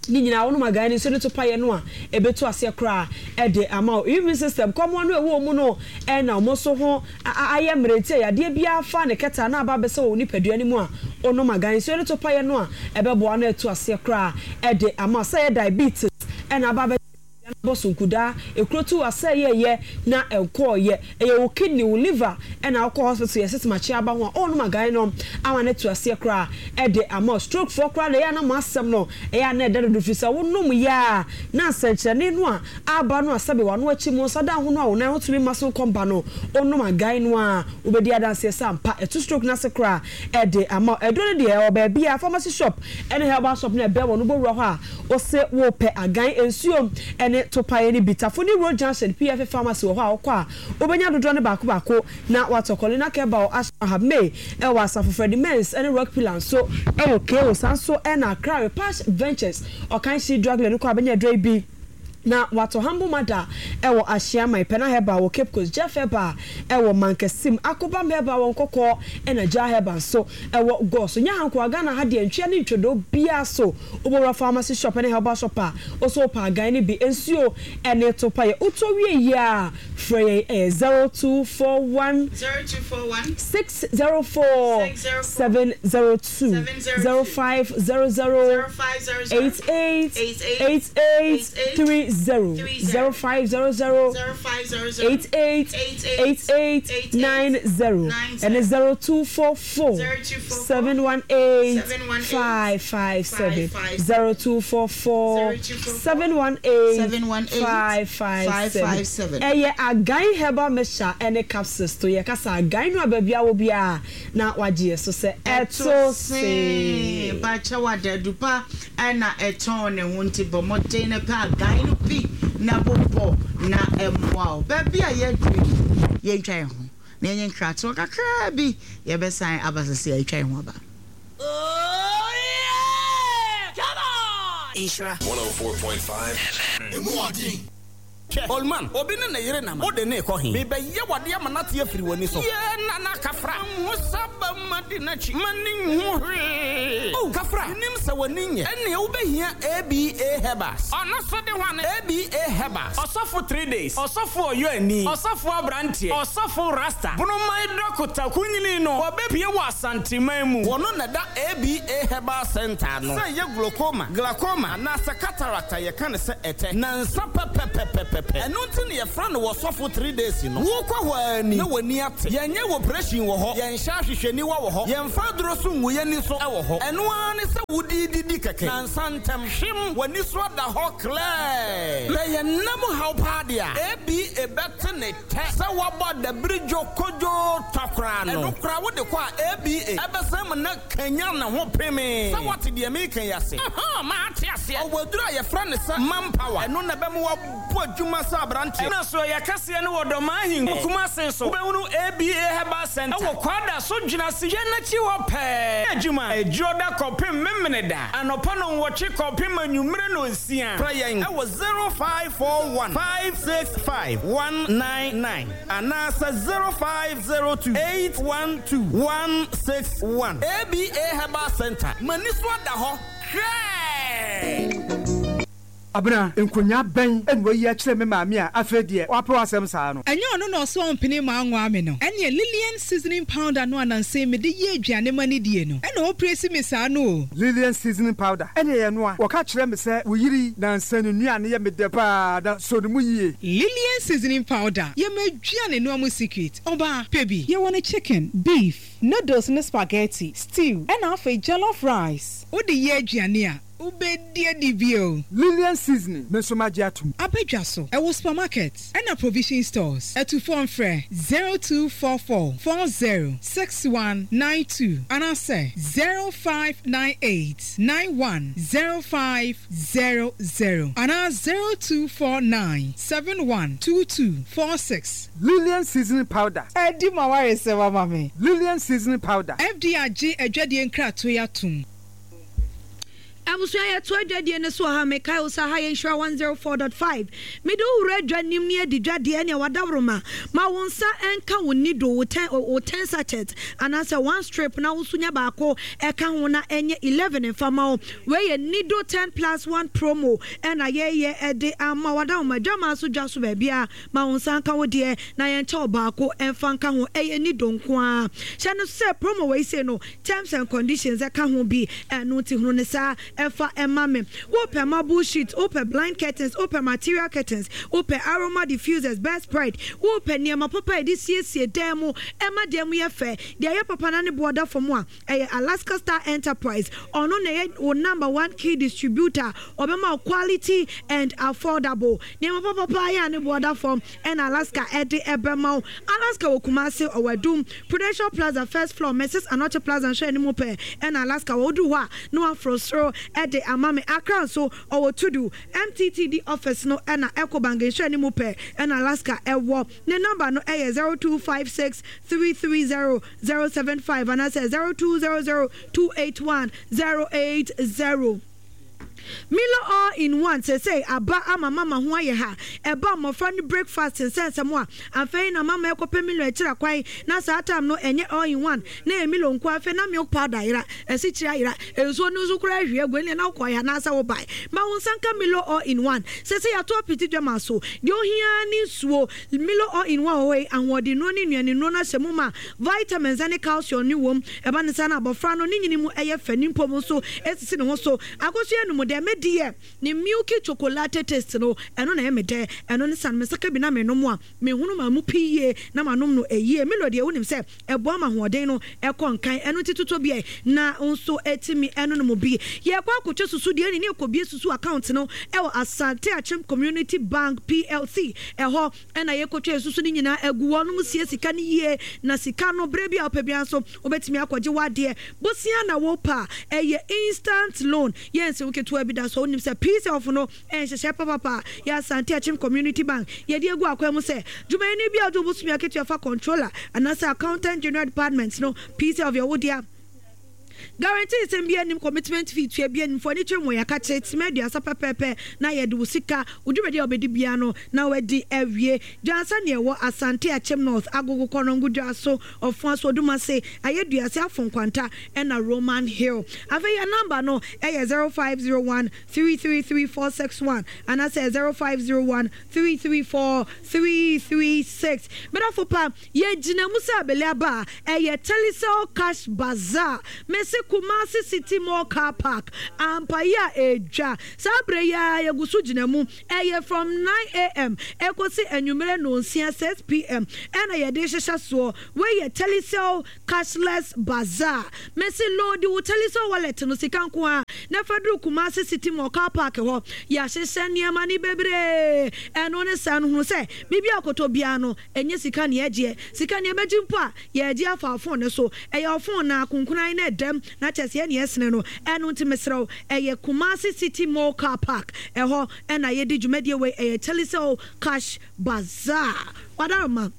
Ne nyinaa wonom agan no nsuo no to paeɛ no a ɛbɛtu aseɛ koraa de ama wo. Immune system kɔmmoa no a ɛwɔ wɔn mu no na wɔn nso ho ayɛ mmerɛ nti a yadeɛ biara fa ne kɛtɛ anaa aba abɛsɛ wɔ wo nipadua no mu a wonom agan nsuo no to paeɛ no a ɛbɛboa no atu aseɛ koraa de ama wo. Sɛ ɛyɛ diabetes na aba abɛsɛ Dua no bɔ so nkudaa, ekuro tu asɛe yɛ yɛ na ɛnkɔɔ yɛ, ɛyɛ wo kidney, wo liver ɛna wokɔ hospital yɛ sɛ makye aba ho a oh nom agan no ama no atu aseɛ koraa ɛde ama wo. Stroke foɔ koraa deɛ ɛyɛ a na mo asɛm no ɛyɛ a na ɛda dodo firi sɛ wo nom yɛ a na nsɛnkyerɛnne no a aba no a sɛbe w'ano akyi mo nsa da ho no a wo nan ho tumi ma so nkɔ mba no wo nom agan no a wobɛdi adanseɛ sɛ ampa ɛtu stroke no ase koraa ɛde ama wo. Aduro no deɛ ɛwɔ baabiara, pharmacy shop ɛne herbal shop no ɛbɛn wɔ no wobɔwura hɔ a Ose wopɛ agan nsuo ne topaeɛ no bi. Tafo ne Road Junction PFA Pharmacy wɔ hɔ a wokɔ a wobɛnya dodoɔ no baako baako na woatɔ. Colina Kebal Ashram May wɔ Asafo Freddie Mens ne Rock Pillar nso wɔ KO saa nso na Accra Repash Ventures Ɔkanhyi Drug Lane wokɔ a wobɛnya aduro yi bi na woatɔ. Humble Mother wɔ Ahyiaman, Pena Herbal wɔ Cape Coast, Jeff Herbal wɔ Mankasim, Akobam Herbal wɔ Nkɔkɔɔ ɛna Jah Herbal nso wɔ Gɔɔ so. Nyɛ ha nkoa, Ghana ha deɛ ntwea ne ntwodoo biara so Wobɔwura pharmacy shop ne herbal shop a, wo so wopɛ agan no bi, nsuo ne to pa yɛ. Wotɔ wie yie a, frɛ yɛn, ɛyɛ 0241 0241 604 604 702 702 0500 0500 88 88 88 88 30 30 0500 0500 88 88 88 88 90 90 ɛne 0244 0244 718 718 557 557 0244 0244 718 718 557 557. Ɛyɛ Agan Herbal Mixture ɛne Capsules to yɛ kasa Agan no a baabi a wɔ biara na wagye yɛ so sɛ Ɛto ɛto see see. Mpakyɛw adadu pa na ɛtɔn ne ho nti bɔ mmɔden na pɛ agan no bi na bobɔ na ɛmmoa wo. Baabi a yɛaduru yi yɛntwa yɛn ho na yɛnyɛ nkratoɔ kakraa bi yɛbɛsan aba sɛsɛɛ yɛatwa yɛn ho aba. Oh yeah! Nhyira. 104.5 FM. Emu ɔden. Hwɛ, old man, obi ne ne yere nam a, wode no rekɔ he? Merebɛyɛ wo adeɛ ama no ate afiri w'ani so. Yee, Nana Kafra, manhu sɛ aba mu adi n'akyi, m'ani nhu hwee. Oh, Kafra, menim sɛ w'ani nyɛ. Ɛnneɛ wobɛhia ABA Herbals. Ɔno nso de hwane? ABA Herbals. Ɔsɔfo Three Days, Ɔsɔfo Ɔyɔani, Ɔsɔfo Abranteɛ, Ɔsɔfo Rasta, Bonoman Dɔkota Kunyini no, wɔbɛpue wɔ Asanteman mu. Wɔno na ɛda ABA Herbal Centre ano. Sɛ ɛyɛ glaucoma, glaucoma, anaasɛ cataract a yɛka no sɛ ɛtɛ, nansa pɛpɛpɛpɛpɛ. Ɛno nti na yɛfrɛ no Ɔsɔfo Three Days no. Wokɔ hɔ ara ni na w'ani ate. Yɛnyɛ oprehyɛn wɔ hɔ, yɛnhyɛ ahwehwɛniwa wɔ hɔ, yɛmfa aduro so ngu yɛn ani so wɔ hɔ. Ɛno ara ne sɛ wode redidi kɛkɛ. Nansa ntɛm, hwem, w'ani so ada hɔ klɛɛ. Sɛ yɛn nna mu haw paa deɛ a, ABA bɛte ne tɛ sɛ woabɔ adabiridwo kodwoo tɔ koraa no. Ɛno koraa wode kɔ a, ABA bɛsan mu na kanyan ne ho pemee. Sɛ woate deɛ mereka yi ase? Ahaa, mate aseɛ. Ɔwɔ aduro a yɛfrɛ no sɛ Manpower. Ɛno na ɛbɛma woabɔ adwuma sɛ aberanteɛ. Ɛna so ɛyɛ kɛseɛ no wɔ Dɔmaa Ahenkuro, Kumase nso. Wobɛhunu ABA Herbal Centre wɔ Kwada so Dwenase dwa no akyi hɔ pɛɛ. Adwuma, Adwuoda kɔpem Memeneda, anɔpa nnɔnwɔtwe kɔpem anwummere nnɔnsia. Frɛ yɛn wɔ 0541 565 199 anaasɛ 0502 812 161. ABA Herbal Centre, m'ani so ada hɔ hwɛɛ! Abena, nkonyaa bɛn na wayi akyerɛ me maame a afei deɛ wapɛ w'asɛm saa no? Ɛnyɛ ɔno na ɔse ɔmpene ma anwaa me no? Ɛneɛ Lilian seasoning powder no a nansa yi mede yɛ aduane ma no die no ɛna ɔrepresi me saa no o. Lilian seasoning powder ɛneɛ yɛ noa. Wɔka kyerɛ me sɛ wo yere yi nansa ne nnuane yɛ me dɛ paa na sɔ ne mu yie. Lilian seasoning powder yɛ m'aduane noa mu secret, ɔbaa, pɛ bi. Yɛwɔ no chicken, beef, noodles ne spaghetti, stew ɛna afei jollof rice. Wode yɛ aduane a, Wobɛdi adi bio. Lilian seasoning me nso magye atom. Aba dwa so, ɛwɔ supermarket ɛna provision stores. Atufoɔ mfrɛ 0244 40 61 92 anaasɛ 0598 91 05 00 anaa 0249 71 22 46. Lilian seasoning powder. Adi m'awaresɛm ama me. Lilian seasoning powder. FDA agye adwadie nkratoɔ yi atom. Abusua yɛto adwadie no so wɔ ha mekae wo sɛ ha yɛ nhyira 104.5 mede wo wura adwa nim ne adi dwa deɛ ɛneɛ wadaworoma ma wo nsa nka wo nido wo ten wo ten sachet anaasɛ one strip na wo nso nya baako ɛka ho na ɛnyɛ 11 mfa ma wo wei yɛ nido 10 plus 1 promo ɛna yɛyɛ ɛde ama wadaworoma dwamaa so dwa so baabia ma wo nsa nka wo deɛ na yɛnkyɛ wo baako ɛmfa nka ho ɛyɛ nido nko ara hyɛ no sɛ promo wei sei no Terms and conditions ɛka ho bi, ɛno nti hunu no saa ɛfa ma me. Wopɛ marble sheet, wopɛ blind curtains, wopɛ material curtains, wopɛ aroma diffusers, bedspread, wopɛ nneɛma papa a yɛde siesie dan mu ɛma dan mu yɛ fɛ, deɛ ɛyɛ papa na ne boɔ da fam a, ɛyɛ Alaska Star Enterprise. Ɔno na ɛyɛ wo number one key distributor, ɔbɛma wo quality and affordable nneɛma papa paa yɛ a ne boɔ da fam ɛna Alaska ɛde ɛbɛma wo. Alaska wɔ Kumasi, ɔwɔ Adum, Prudential Plaza, first floor, Mrs. Anokye Plaza nhwɛ anim pɛɛ ɛna Alaska wɔ. Woduru hɔ a na waforo soro de ama me. Accra nso, ɔwɔ Tudu, MTTD office no ɛna Ecobank nhwɛ anim pɛɛ ɛna Alaska ɛwɔ. Ne number no ɛyɛ 0256 330 075 anaasɛ 0200 281 080. Milo all in one seesei aba ama mama ho ayɛ ha. Ɛba mmɔfra no breakfast nsɛnsɛm a, afei na mama ɛkɔpɛ Milo akyira kwan na saa time no ɛnyɛ all in one na ɛyɛ Milo nko afei na milk powder ayera, asikyire ayera, nsuo no nso koraa ahwie agu ɛnneɛ na wokɔeɛ anaasɛ wobae. Ma wo nsa nka Milo all in one. Seesei yɛato apiti dwama so. Deɛ ohia ara ne nsuo. Milo all in one wɔ hɔ yi, ahoɔdennuro ne nnuanennuro no ahyɛ mu ma. Vitamins ne calcium no wom. Ɛba no saa na abɔfra no ne nyini mu yɛ fɛ, ne mpom nso sisi ne ho so. Akosua anum dɛ, me deɛ ne milky chocolate taste no, ɛno na ɛyɛ me dɛ. Ɛno ne sane me nsa ka bi na menom a, mehunu maa mu pii yie na manom no yie. Milo deɛ wonim sɛ ɛboa ma ahoɔden no kɔ nkan, ɛno nti totɔ bi ɛ na wo nso tumi nonom bi. Yɛrekɔ akɔtwa susu deɛ ɛne ne yɛkɔbue susu account no wɔ Asante Akyem Community Bank PLC ɛhɔ. Ɛna yɛkɔtwa yɛn susu no nyinaa agu hɔ nom sie sika no yie na sika no berɛ bi a wopɛ biara nso wobɛtumi akɔgye w'adeɛ. Bosea na wopɛ a ɛyɛ instant loan yɛ nsew ketewa bi da so wonim sɛ PSELF no ɛyɛ nhyehyɛɛ papapa a yɛ Asante Akyem Community Bank yɛde agu akwan mu sɛ dwumayɛni bi a wode wo bosome akatua fa Controller anaasɛ Accountant General Department no PSELF yɛ wo dea. Guarantee sɛm biara nnim, commitment fee tua biara nnim, fa w'ani kyerɛ mu wɔ yɛn akakye, tema 30 pɛpɛɛpɛ na yɛde wo sika, wo dwumadi a wobɛdi biara no na woadi awie. Dwansa nea ɛwɔ Asante Akyem North, Agogo Kɔnɔngo Dwaso, Ɔfoaso Odumase, Ayeduase, Afo Nkwanta ɛna Roman Hill. Afei yɛn number no yɛ 0501 333 461 anaasɛ 0501 334 336. Medafo pa, Yɛgyina mu sɛ abele aba a, ɛyɛ Telecel Cash Bazaar. Mese Kumasi City Mall Car Park. Ampa yi a ɛredwa. Saa berɛ yi ara yɛgu so gyina mu. Ɛyɛ from 9am ɛkɔsi anwummerɛ nnɔnsia, 6pm, ɛna yɛde rehyehyɛ soɔ. Wei yɛ Telecel Cashless Bazaar. Mese loadi wo Telecel wallet no, sika nko ara, na fa duru Kumasi City Mall Car Park hɔ. Yɛahyehyɛ nneɛma no bebree. Ɛno ne saa no, hunu sɛ biribi a wokɔtɔ biara no, Ɛnyɛ sika na yɛgyeɛ. Sika no yɛbɛgye mpo a, yɛregye afa wo phone no so. Ɛyɛ wo phone no ara, konkonan no ɛdam, na kyerɛ sɛ yɛn na yɛsene no. Ɛno nti mesrɛ wo, ɛyɛ Kumasi City Mall Car Park, ɛhɔ na yɛdi dwumadie wei, ɛyɛ Telecel Cash Bazaar. Wadaroma,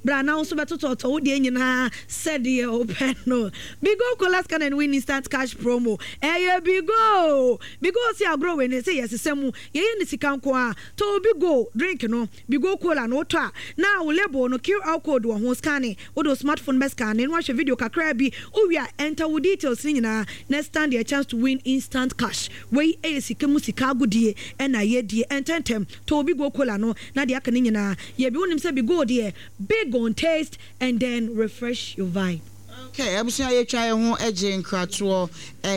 bra na wo nso bɛtotɔtɔ wo deɛ nyinaa sɛdeɛ wopɛ no. Bigo Cola Scan and Win Instant Cash Promo, ɛyɛ Bigo! Bigo se agorɔ wei no, ɛsɛ yɛsesa mu, yɛyɛ no sika nko ara. Tɔ Bigo drink no. Bigo Cola no wotɔ a, na wo label no QR code wɔ ho, scanne, wode wo smartphone bɛ scanne na wahwɛ video kakraa bi, wowie a enter wo details no nyinaa na stand a chance to win instant cash. Wei yɛ sika mu sika agodie na yɛdie, ntɛntɛm tɔ wo Bigo Cola no na deɛ aka no nyinaa yɛ bi, wonim sɛ Bigo deɛ big on taste and then refresh your vibe. Ok abusua yɛtwa yɛn ho gye nkratoɔ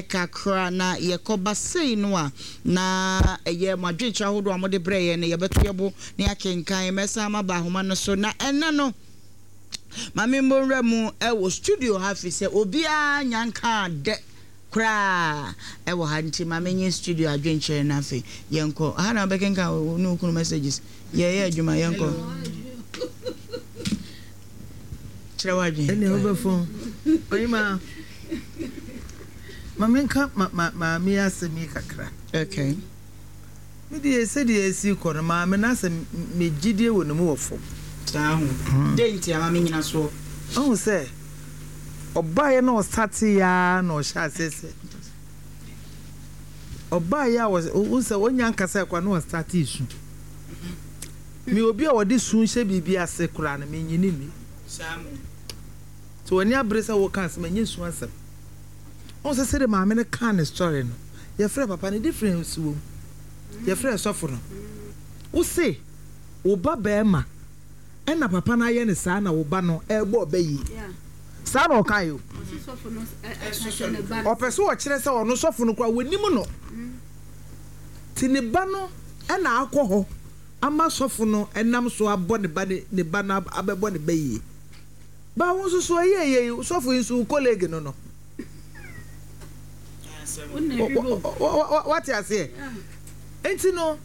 kakra na yɛkɔ ba sei no a na ɛyɛ mo adwenkyerɛ ahodoɔ a mode brɛ yɛn no yɛbɛto yɛn bo na yɛakenkan. Mɛsan maba ahoma no so na ɛnnɛ no ma me mmɔ nwura mu wɔ studio ha firi sɛ obiara nya nkaa dɛ koraa ɛwɔ ha nti ma menye studio adwenkyerɛ no afei yɛnkɔ ha na wobɛkenkan wo ne wo kunu messages yɛyɛ adwuma yɛnkɔ. Kyerɛ w'adwene. Ɛnneɛ wobɛfɔn. Ɔhemaa, ma menka ma ma maame yi asɛm yi kakra. Okay. Me deɛ sɛdeɛ ɛsi rekɔ no, maame no asɛ me gyidie wɔ ne mu wɔ fam. Saa ho. Dɛn nti ama me nyinasoɔ? Woahu sɛ, ɔbaeɛ na ɔsateeɛ ara na ɔhyɛɛ aseɛ sɛ, ɔbaeɛ a wohu sɛ ɔnnya nkasaeɛ koraa na ɔstartee su. Me obi a ɔde su hyɛ biribi ase koraa no, minnye no nni. Sɛ w'ani abere sɛ woreka asɛm a, ɛnyɛ su asɛm. Wohu sɛ sɛdeɛ maame no kaa ne story no, yɛfrɛɛ papa no, difference wɔ mu. Yɛfrɛɛ sɔfo no. Wose wo ba barima ɛna papa no ayɛ no saa na wo ba no ɛrebɔ ɔbɛ yie. Saa na ɔkaeɛ o. Ɔpɛ sɛ ɔkyerɛ sɛ ɔno sɔfo no koraa wɔnim no. Nti ne ba no na akɔ hɔ ama sɔfo no nam so abɔ ne ba ne ba no abɛbɔ ne ba yie. Ba wo nso so ɛyɛ yei sɔfo yi nso wo colleague no no. Wate aseɛ? Nti no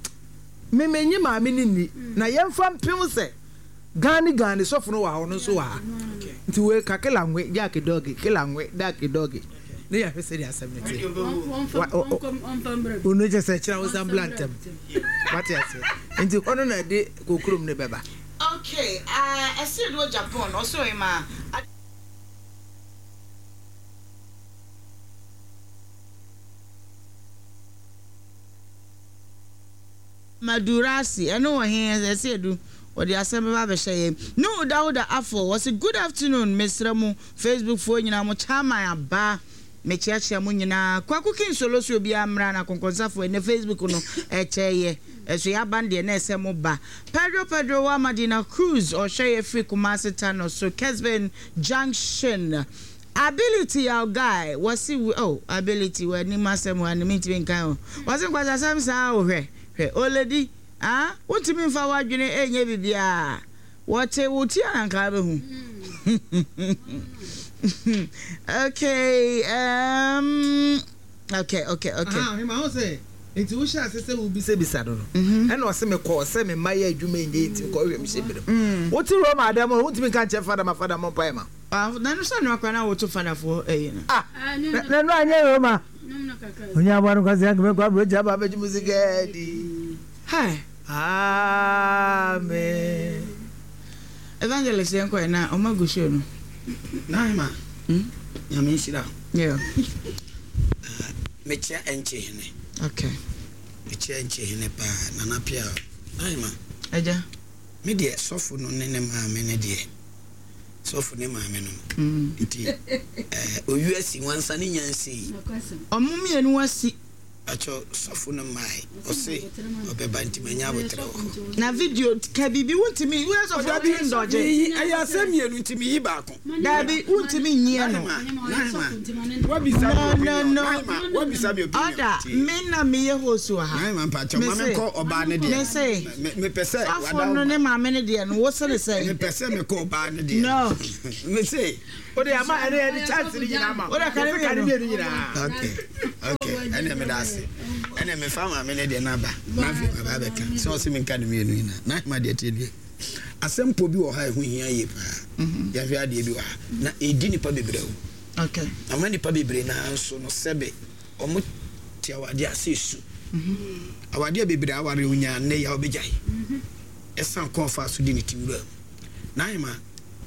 me menye maame no nni na yɛmfa mpem sɛ Gani Gani sɔfo no wɔ ha ɔno nso wɔ ha nti wei ka kela nwe jaaki dɔgi kela nwe daki dɔgi ne yɛhwɛ sɛdeɛ asɛm no teɛ ɔno kyɛ sɛ kyerɛ wo san bla ntɛm wate aseɛ nti hɔ no na ɛde kokurom no bɛba. Okay, uh, ɛsere do Japan, ɔsoro ema. Madurasi, ɛno wɔ he? Ɛsɛ edu, wɔde asɛm bɛba abɛhyɛ yɛn. Nuhu Dauda Afful, ɔse good afternoon, mesrɛ mo Facebook foɔ nyinaa mo chairman aba, mekyeakyea mo nyinaa. Kwaku King Solo se obiara mmra na akɔnkɔnsafoɔ ɛnɛ Facebook no ɛkyɛeɛ, ɛso yɛaba no deɛ na ɛsɛ mo ba. Pedro Pedro wa Madina Cruz, ɔhwɛ yɛ firi Kumasi Tano so, Kesben Junction. Ability yaw guy, wɔse oh Ability w'anim asɛm wɔ ha no mentumi nkan o, wɔse nkwasasɛm saa o hwɛ hwɛ oledi ah wontumi mfa w'adwene ɛnyɛ biribiara wɔte wo ti a na nka wobɛhu okay um, okay okay okay. Aha ɔhema ho sɛ nti wohyɛ ase sɛ wobisabisa no no ɛna ɔse mekɔɔ sɛ me mma yɛ adwuma ɛnyɛ nti mekɔhwɛ me hyɛ berɛ mu wote Roma adam no wontumi nka nkyɛ fada ma fada mmɔ mpaeɛ ma Ah na ɛno sɛ noa koraa na woto fadafoɔ ɛyi no. Ah na ɛno anyɛ Roma. Onye aboa no kwasi anka mɛkɔ aburokyi aba abɛgye mu sika adi. Hi. Amen. Evangelist yɛn kɔ ɛ na ɔmo agu show no. Naima, Nyame nhyira wo. Yeah. Ah, mekyia Ɛnkye Hene. Okay. Mekyia Ɛnkye Hene paa, Nana Pia. Ahema. Agya. Me deɛ sɔfo no ne ne maame no deɛ, sɔfo ne maame no. Mm. Nti, eh, owi asi wansa ne nya nsei. Ɔmo mmienu asi. Pakyɛw sɔfo no mmae ɔse ɔbɛba nti manya aboterɛ wɔ hɔ. Na video ka biribi wontumi woyɛ sɔfo Dabi wontumi ndɔgye. meyi ɛyɛ asɛm mmienu nti meyi baako. Dabi wontumi nyi ɛno. Nahima Nahima wabisa me No no opinion no Nahima wabisa me opinion Ɔda tie. me na meyɛ host wɔ ha. Nahima mpakyɛw ma Mese menkɔ ɔbaa no deɛ mese no me mepɛ sɛ sɔfo wada no ne maame no deɛ no wo se ne sɛn? Mepɛ sɛ mekɔ ɔbaa no deɛ No. no mese. O de ama ɛne ɛde chance ni nyinaa ma. O de ka ne Ka ne mmienu. mmienu nyinaa. Okay okay ɛnna meda ase ɛnna mefa maame ne deɛ n'aba n'afei maba abɛka sɛ ɔsɛ menka ne mmienu nyinaa na ahema deɛ tie deɛ asɛm po bi wɔ ha ɛho hia yie paa mhm. yɛhwɛ adeɛ bi wɔ ha na ɛdi nipa bebree o okay. ama nipa bebree naa nso no sɛbe ɔmo te awadeɛ ase esu mhm. awadeɛ bebree aware onyaa nnɛ yɛ a ɔbɛgyae mhm. ɛsan kɔn fa so di ne ti wura mu na ahema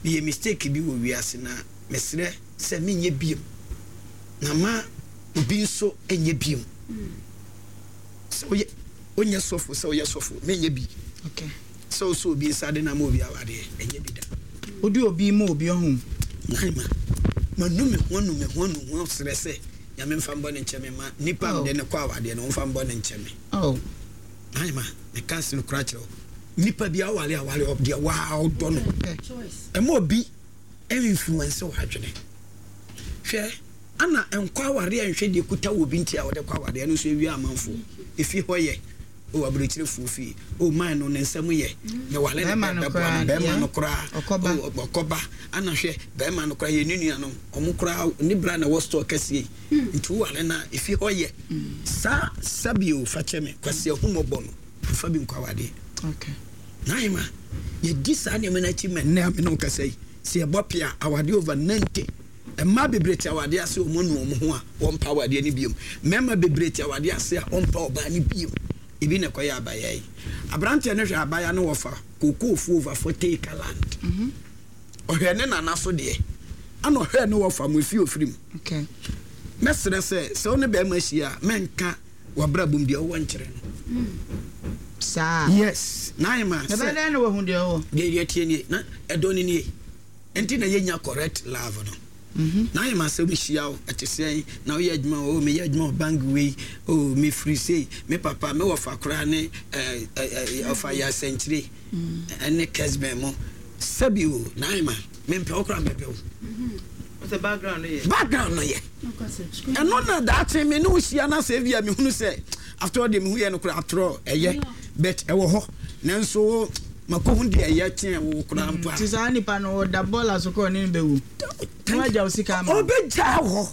meyɛ mistake bi wɔ wiase na mesrɛ sɛ menyɛ biom na ma obi nso nyɛ biom sɛ woyɛ wonyɛ sɔfo sɛ woyɛ sɔfo menyɛ bi okay. sɛ wosɛ obi nsa de na ma obi awadeɛ ɛnyɛ bi da wode obi ma obi ɔho naima manu me ho anu me ho anu ho serɛ sɛ nyame mfa mbɔ ne nkyɛ me ma nipa oh. mede ne kɔ awadeɛ no mfa mbɔ ne nkyɛ me oh. naima meka se no kora kyerɛ wo nipa bi awale awale deɛ waa ɔdɔ no ɛma obi influence w'adwene hwɛ ana nkɔ awareɛ nhwɛ deɛ kuta wɔ bi nti a wɔde kɔ awareɛ no nso ewia amanfoɔ efi hɔ yɛ o aburokyerefoɔ fie o man no ne nsɛm yɛ ne wale ne bɛɛ bɛboa no bɛrima no koraa o ɔkɔba ana hwɛ bɛrima no koraa yɛ ne nua no ɔmo koraa ne bra na ɛwɔ store kɛseɛ yi nti wo wale na efi hɔ yɛ saa sabio fakyɛ me kwasi ahumɔbɔ no Mfa bi nkɔ awadeɛ. Okay. Naima, yɛdi saa nneɛma no akyi ma nnɛ a me ne wo kasa yi, sɛ yɛbɔ pea awadeɛ over 90. Mmaa bebree te awadeɛ ase wɔn anu wɔn ho a wɔmpa awadeɛ no biom. Mmarima bebree te awadeɛ ase a wɔmpa ɔbaa no biom. Ebi na ɛkɔyɛ abaya yi. Aberanteɛ no hwɛ abaya no wɔfa kookoofuo over 40 acre land. Mhm. Ɔhwɛ ne nana so deɛ, ana ɔhwɛ ne wɔfa mo efie ofiri mu. Okay. Mɛsrɛ sɛ sɛ wo ne bɛrima hyia a mɛnka W'abrabɔ mu deɛ ɔwɔ nkyerɛ no. Saa. Yes, Naima. Ɛbɛyɛ dɛn na wahu deɛ ɔwɔ? Deɛ deɛ tie nie, na ɛdɔ no nie. Nti na yɛnya correct love no. Mhm. Naima sɛ mehyia wo, ɛte sɛn? Na woyɛ adwuma, oh meyɛ adwuma wɔ bank wei, oh mefiri sei, me papa, me wɔfa koraa ne ɛɛ ɛɛ ɔfa yɛ asɛnkyire, ɛne Kesben mo. Sɛbi o, Naima, mempɛ wo koraa mɛpɛ wo. Sɛ background no yɛ. Background no yɛ. Ɛno na daakye me ne wo hyia na sɛ ebia mehunu sɛ after all deɛ mehu yɛ no koraa after all ɛyɛ but ɛwɔ hɔ nanso makɔhu deɛ ɛyɛ kyɛn wo koraa mpo a. Nti saa nipa no ɔda bɔɔla so koraa ɔne no bɛwu na wagya wo sika ama wo. Ɔbɛgyaa hɔ.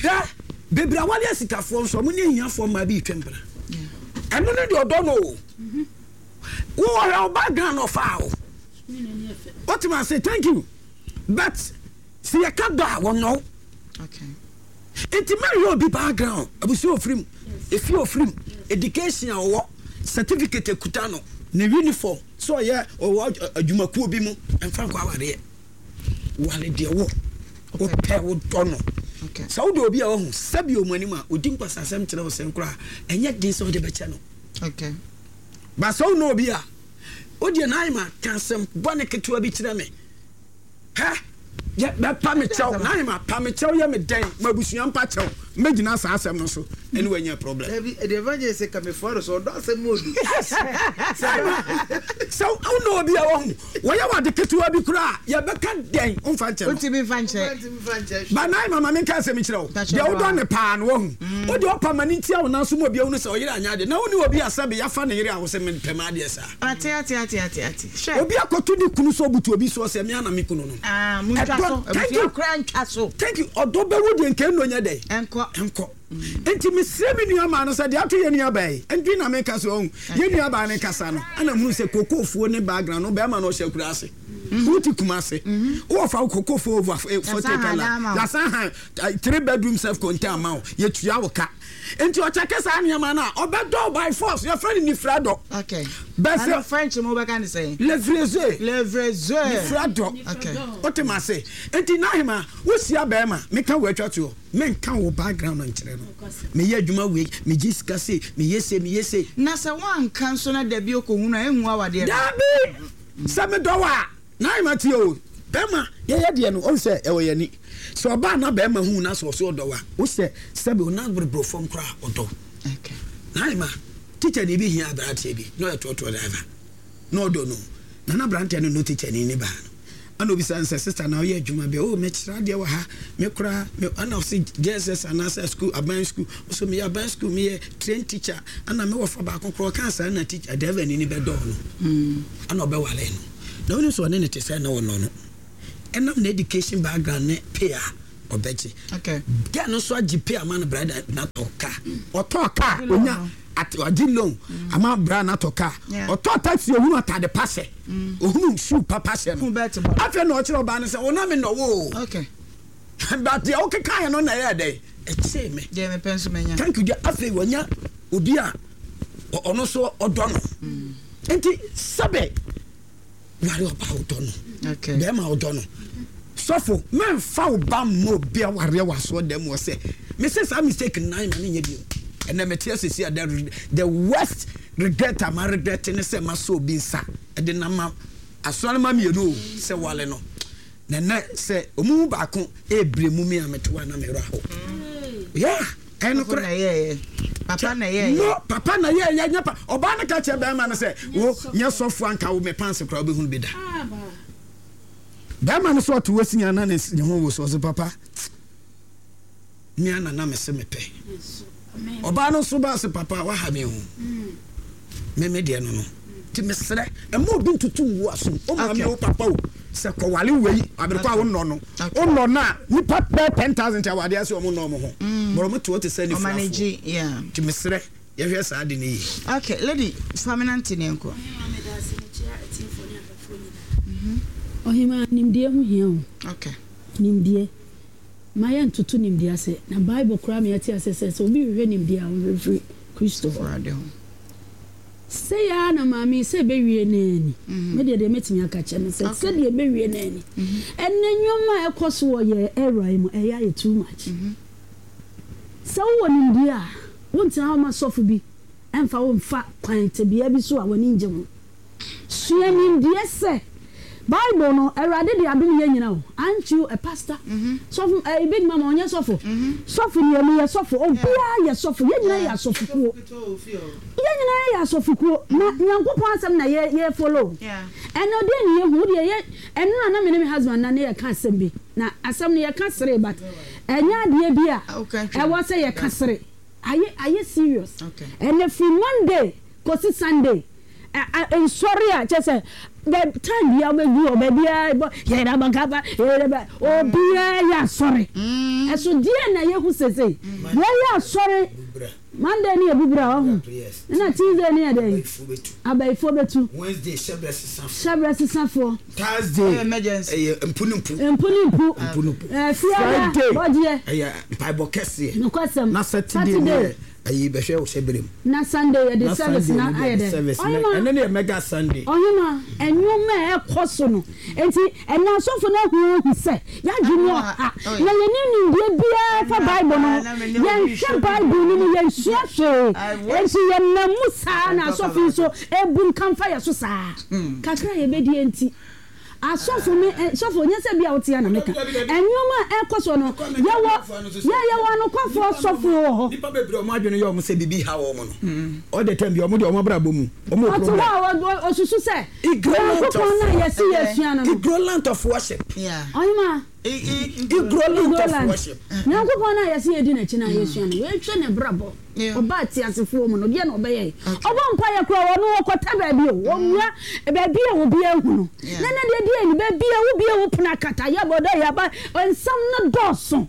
Hwɛ bebree awale asikafoɔ nso ɔmo ne ahiafoɔ mmaa bi retwa mpena. Ɛno ne deɛ ɔdɔ no o. Wo ɔhwɛ wo background na ɔfaa wo. Wote ma ase thank you but sɛ yɛka dɔ a wɔnnɔ wo. Nti mɛhwɛ obi background, abusua ofiri mu, efie ofiri mu, education a ɔwɔ, certificate ekuta no, ne uniform, sɛ ɔyɛ ɔwɔ adwumakuo bi mu, ɛmfa nkɔ awareɛ. Ware deɛ wo wopɛ wodɔ no. Sɛ wodɔ obi a wahu sɛbi ɔmu anim a ɔdi nkwasasɛm kyerɛ wo sɛn koraa ɛnyɛ den sɛ wode bɛkyɛ no. Ba sɛ wonɔ obi a wodeɛ Naima ka asɛm bɔne ketewa bi kyerɛ me. Hɛ! Yɛ, bɛpa me kyɛw, Naima, pa me kyɛw yɛ me dɛn, m'abusua mpa kyɛw, mɛgyina saa asɛm no so ɛne wo anya problem. Dabi, ɛdeɛ evangelist sɛ kamefoa no so, ɔdɔ asɛm mu odu. Yes! Naima, sɛ wo nɔ obi a wahu, wɔyɛ wo ade ketewa bi koraa a, yɛbɛka dɛn, womfa nkyɛ no. Wontumi mfa nkyɛ. Ba Naima, ma menka asɛm nkyerɛ wo, deɛ wodɔ no paa no wahu, wo deɛ ɔpa ma no ntia wo nan so ma obi ahunu sɛ ɔyere anyɛ adeɛ, na wone obi a sɛbe yɛafa ne yere a wo se mempɛ m'adeɛ saa. Ate ate ate ate ate. Hwɛ. Obi akɔto ne kunu so ɔbutu obi soɔ sɛ me ara na me kunu no. Ah, montwa Ɛdɔ, so. thank Abusua you. koraa ntwa so. Thank you. Ɔdɔ bɛwu deɛ nka ɛnnɔ nyɛ dɛn? Ɛnkɔ. Ɛnkɔ. Nti mesrɛ me nua maa no sɛ deɛ ato yɛn nua baa yi, nti na meka sɛ ɔhu. Yɛn nua baa no kasa no, ɛna mehunu sɛ kookoofuo ne background no, bɛrima no ɔhyɛ akura ase. Wote Kumase. Wowɔ fa wo koko fo over 40 kala. Yɛasan han 3 bedroom self contained ama wo. Yɛtua wo ka. Nti ɔkyɛke saa nneɛma no a, ɔbɛdɔ wo by force. Yɛfrɛ no nifira dɔ. Okay. Bɛsɛ. Ɛno French mu wobɛka ne sɛn? Levreze. Levreze. Nifira dɔ. Okay. Wote ma se. Nti Nahema, wohyia bɛrima, meka wo atwa toɔ. Menka wo background nkyerɛ no. Meyɛ adwuma wei, megye sika sei, meyɛ sei, meyɛ sei. Na sɛ woanka nso na dabi ɔkɔhunu a, ɛnhu awadeɛ no? Dabi! Sɛ medɔ wo a, Naima tie o, bɛrima yɛyɛ deɛ no, ɔhu sɛ ɛwɔ yɛn ani. Sɛ ɔbaa na bɛrima hu na sɛ ɔse ɔdɔ wo a, wo sɛ sɛbe wo nan berebere fam koraa a, ɔdɔ wo. Naima, tikyani bi hia aberanteɛ bi na ɔyɛ trɔtrɔ driver. Na ɔdɔ no. Na na aberanteɛ no nnɔ tikyani no baa no. Ɛna obisa no sɛ, Sista, na woyɛ adwuma bɛn? Oh, mekyerɛ adeɛ wɔ ha. Me koraa, me, ɛna ɔse JSS anaasɛ sukuu, aban sukuu. Ɔse meyɛ aban sukuu, meyɛ trained teacher. Ɛna me wɔfa baako koraa ɔkaa saa na teacher, driver ni no bɛdɔɔ no. Ɛna ɔbɛwaree no. Na wonim sɛ ɔne no te sɛn na ɔnnɔ no. Ɛnam n'education background ne pay a ɔbɛgye. Girl no nso agye pay ama no bra na natɔ car. Ɔtɔɔ car, onya, at, wagye loan ama bra natɔ car. Ɔtɔɔ taxi ohunu atade pa hyɛ. Ohunu shoe papa hyɛ no. Afei na ɔkyerɛ ɔbaa no sɛ, wo na me nɔ wo o. But deɛ wokekaeɛ no na ɛyɛɛ dɛn? Ɛkyee me. Deɛ mepɛ nso manya. Thank you dear. Afei wanya obi a ɔno nso ɔdɔ no. Nti sɛbɛ ware ɔbaa a wodɔ no. Bɛrima a wodɔ no. Sɔfo, mɛmfa wo ba mma obi awareɛ wɔ asoɔ dɛm wɔ sɛ mese saa mistake no nan ma no nyɛ bio. Ɛnɛ mete ase si a the, the worst regret a ma regret ne sɛ masɔ obi nsa de no ama asɔremma mmienu o sɛ wale no. Na ɛnɛ sɛ wɔn mu baako rebere mu me a mete hɔ a na me werɛ ahow. Yeah, ɛyɛ nokorɛ. Papa na ɛyɛɛyɛ. No, papa na ɛyɛɛyɛ nyɛ pa. Ɔbaa no ka kyerɛ bɛrima no sɛ, wo nyɛ sɔfo anka wo me pants koraa wobɛhunu bi da. Bɛrima no so ɔte hɔ si ana ne ho wo so ɔse papa. Me ara na na mese mepɛ. Ɔbaa no nso baa se papa waha me o. Me me deɛ no no. Nti mesrɛ mma obi ntutu ngu asom. O maame o papa o sɛ kɔwale wei abere kɔ a wonnɔ no. Wonnɔ no a nipa bɛyɛ 10,000 te awadeɛ ase wɔn nnɔ wɔn ho. But wɔn te hɔ te sɛ anifirafoɔ. Nti mesrɛ yɛhwɛ saa ade no yie. Okay lady fa me nante ne yɛnkɔ. Ɔhemaa medase mekyia atiefoɔ ne ahwɛfoɔ nyinaa. Ɔhemaa nimdeɛ ho hia o. Okay. Nimdeɛ. Mma yɛnntoto nimdeɛ ase, na Bible koraa ma yɛte ase sɛ, sɛ obi hwehwɛ nimdeɛ a, ɔhwehwɛ firi Kristo hɔ. Sei ara na maame yi, sɛ ɛbɛwie no ara ni. Me deɛ, deɛ mɛtumi aka akyerɛ no sɛ, sɛdeɛ ɛbɛwie no ara ni. Ɛnnɛ nneɛma a ɛkɔ so wɔ yɛn era yi mu, ɛyɛ ayɛ too much. Sɛ wowɔ nimdeɛ a, wontena hɔ mma sɔfo bi mfa wo mfa kwan tebea bi so a w'ani nnye ho. Sua nimdeɛ sɛ, Bible no, Awurade de adom yɛn nyina o, aren't you a pastor? Sɔfo, eh, Big Mama ɔnyɛ sɔfo? Sɔfo nie, meyɛ sɔfo, obiara yɛ sɔfo, yɛn nyina yɛ asɔfokuo. Yɛn nyina yɛ asɔfokuo, na Nyankopɔn asɛm na yɛ, yɛ follow. Ɛnɛ deɛ ne yɛhu, wodeɛ yɛ, ɛnora na me ne me husband na ne yɛka asɛm bi, na asɛm no yɛka seree but ɛnyɛ adeɛ bi a ɛwɔ sɛ yɛka sere. Ayɛ, ayɛ serious. Ɛnɛ firi Monday kɔsi Sunday, Nsɔre a kyerɛ sɛ the time biara wobɛdu hɔ baabiara bɔ yɛrabakaba yɛraba obiara yɛ asɔre ɛso deɛ na yɛhu sesei yɛyɛ asɔre Monday ne yɛ bubura ɔho ɛna Tuesday ne yɛ dɛn abayifoɔ bɛtu Wednesday hyɛbrɛ sesafoɔ hyɛbrɛ sesafoɔ Thursday ɛyɛ mpu ne mpu mpu ne mpu mpu ne mpu Fiada Friday bɔgyeɛ ɛyɛ mpaebɔ kɛseɛ nokwasɛm na Saturday ne yɛ Ayi bɛhwɛ wo hyɛbrɛ mu. Na Sunday yɛde Na service Sunday na no ayɛ deɛ dɛn? service na Ɔhema. ɛno ne yɛ mega Sunday. Ɔhema, nneɛma a ɛkɔ so no nti ɛnnɛ asɔfo no ahu ahu sɛ yɛadwene ɔha na yɛnni nimdeɛ biara fa Bible no ho. Yɛnhwɛ Bible no mu, yɛnsua hwee. Enti yɛnam mu saa na asɔfo yi nso rebunkam fa yɛn so saa. Kakra a yɛbɛdie nti. Asɔfo me eh, sɔfo, nyɛ sɛ bi a wote a na meka. Nneɛma a ɛkɔ so no, yɛwɔ, yɛ yɛwɔ anokwafoɔ asɔfo wɔ hɔ. Nnipa bebree a wɔn adwene yɛ wɔn sɛ biribi haw wɔn no, all the time bi wɔn deɛ wɔn abrabɔ mu, wɔn wɔ Ɔte problem. hɔ a ɔ, ɔsusu sɛ, Ignorant Nyankopɔn of, no a yɛse yɛsua no no. ignorant of worship. Ɔhemaa. Ignorant of worship. Nyankopɔn no a yɛse yɛdi n'akyi no a yɛsua no, yɛnhwɛ n'abrabɔ. Ɔbaa teasefoɔ mu no, deɛ na ɔbɛyɛe? Ɔbɔ mpaeɛ koraa, ɔno ɔkɔtɛ baabi o, ɔwura baabi a obiara nhu no. Na ɛnɛ deɛ deɛ ni, baabi a wobue wo pono akata, yɛbɔ dɛ yɛaba, nsɛm no dɔɔso.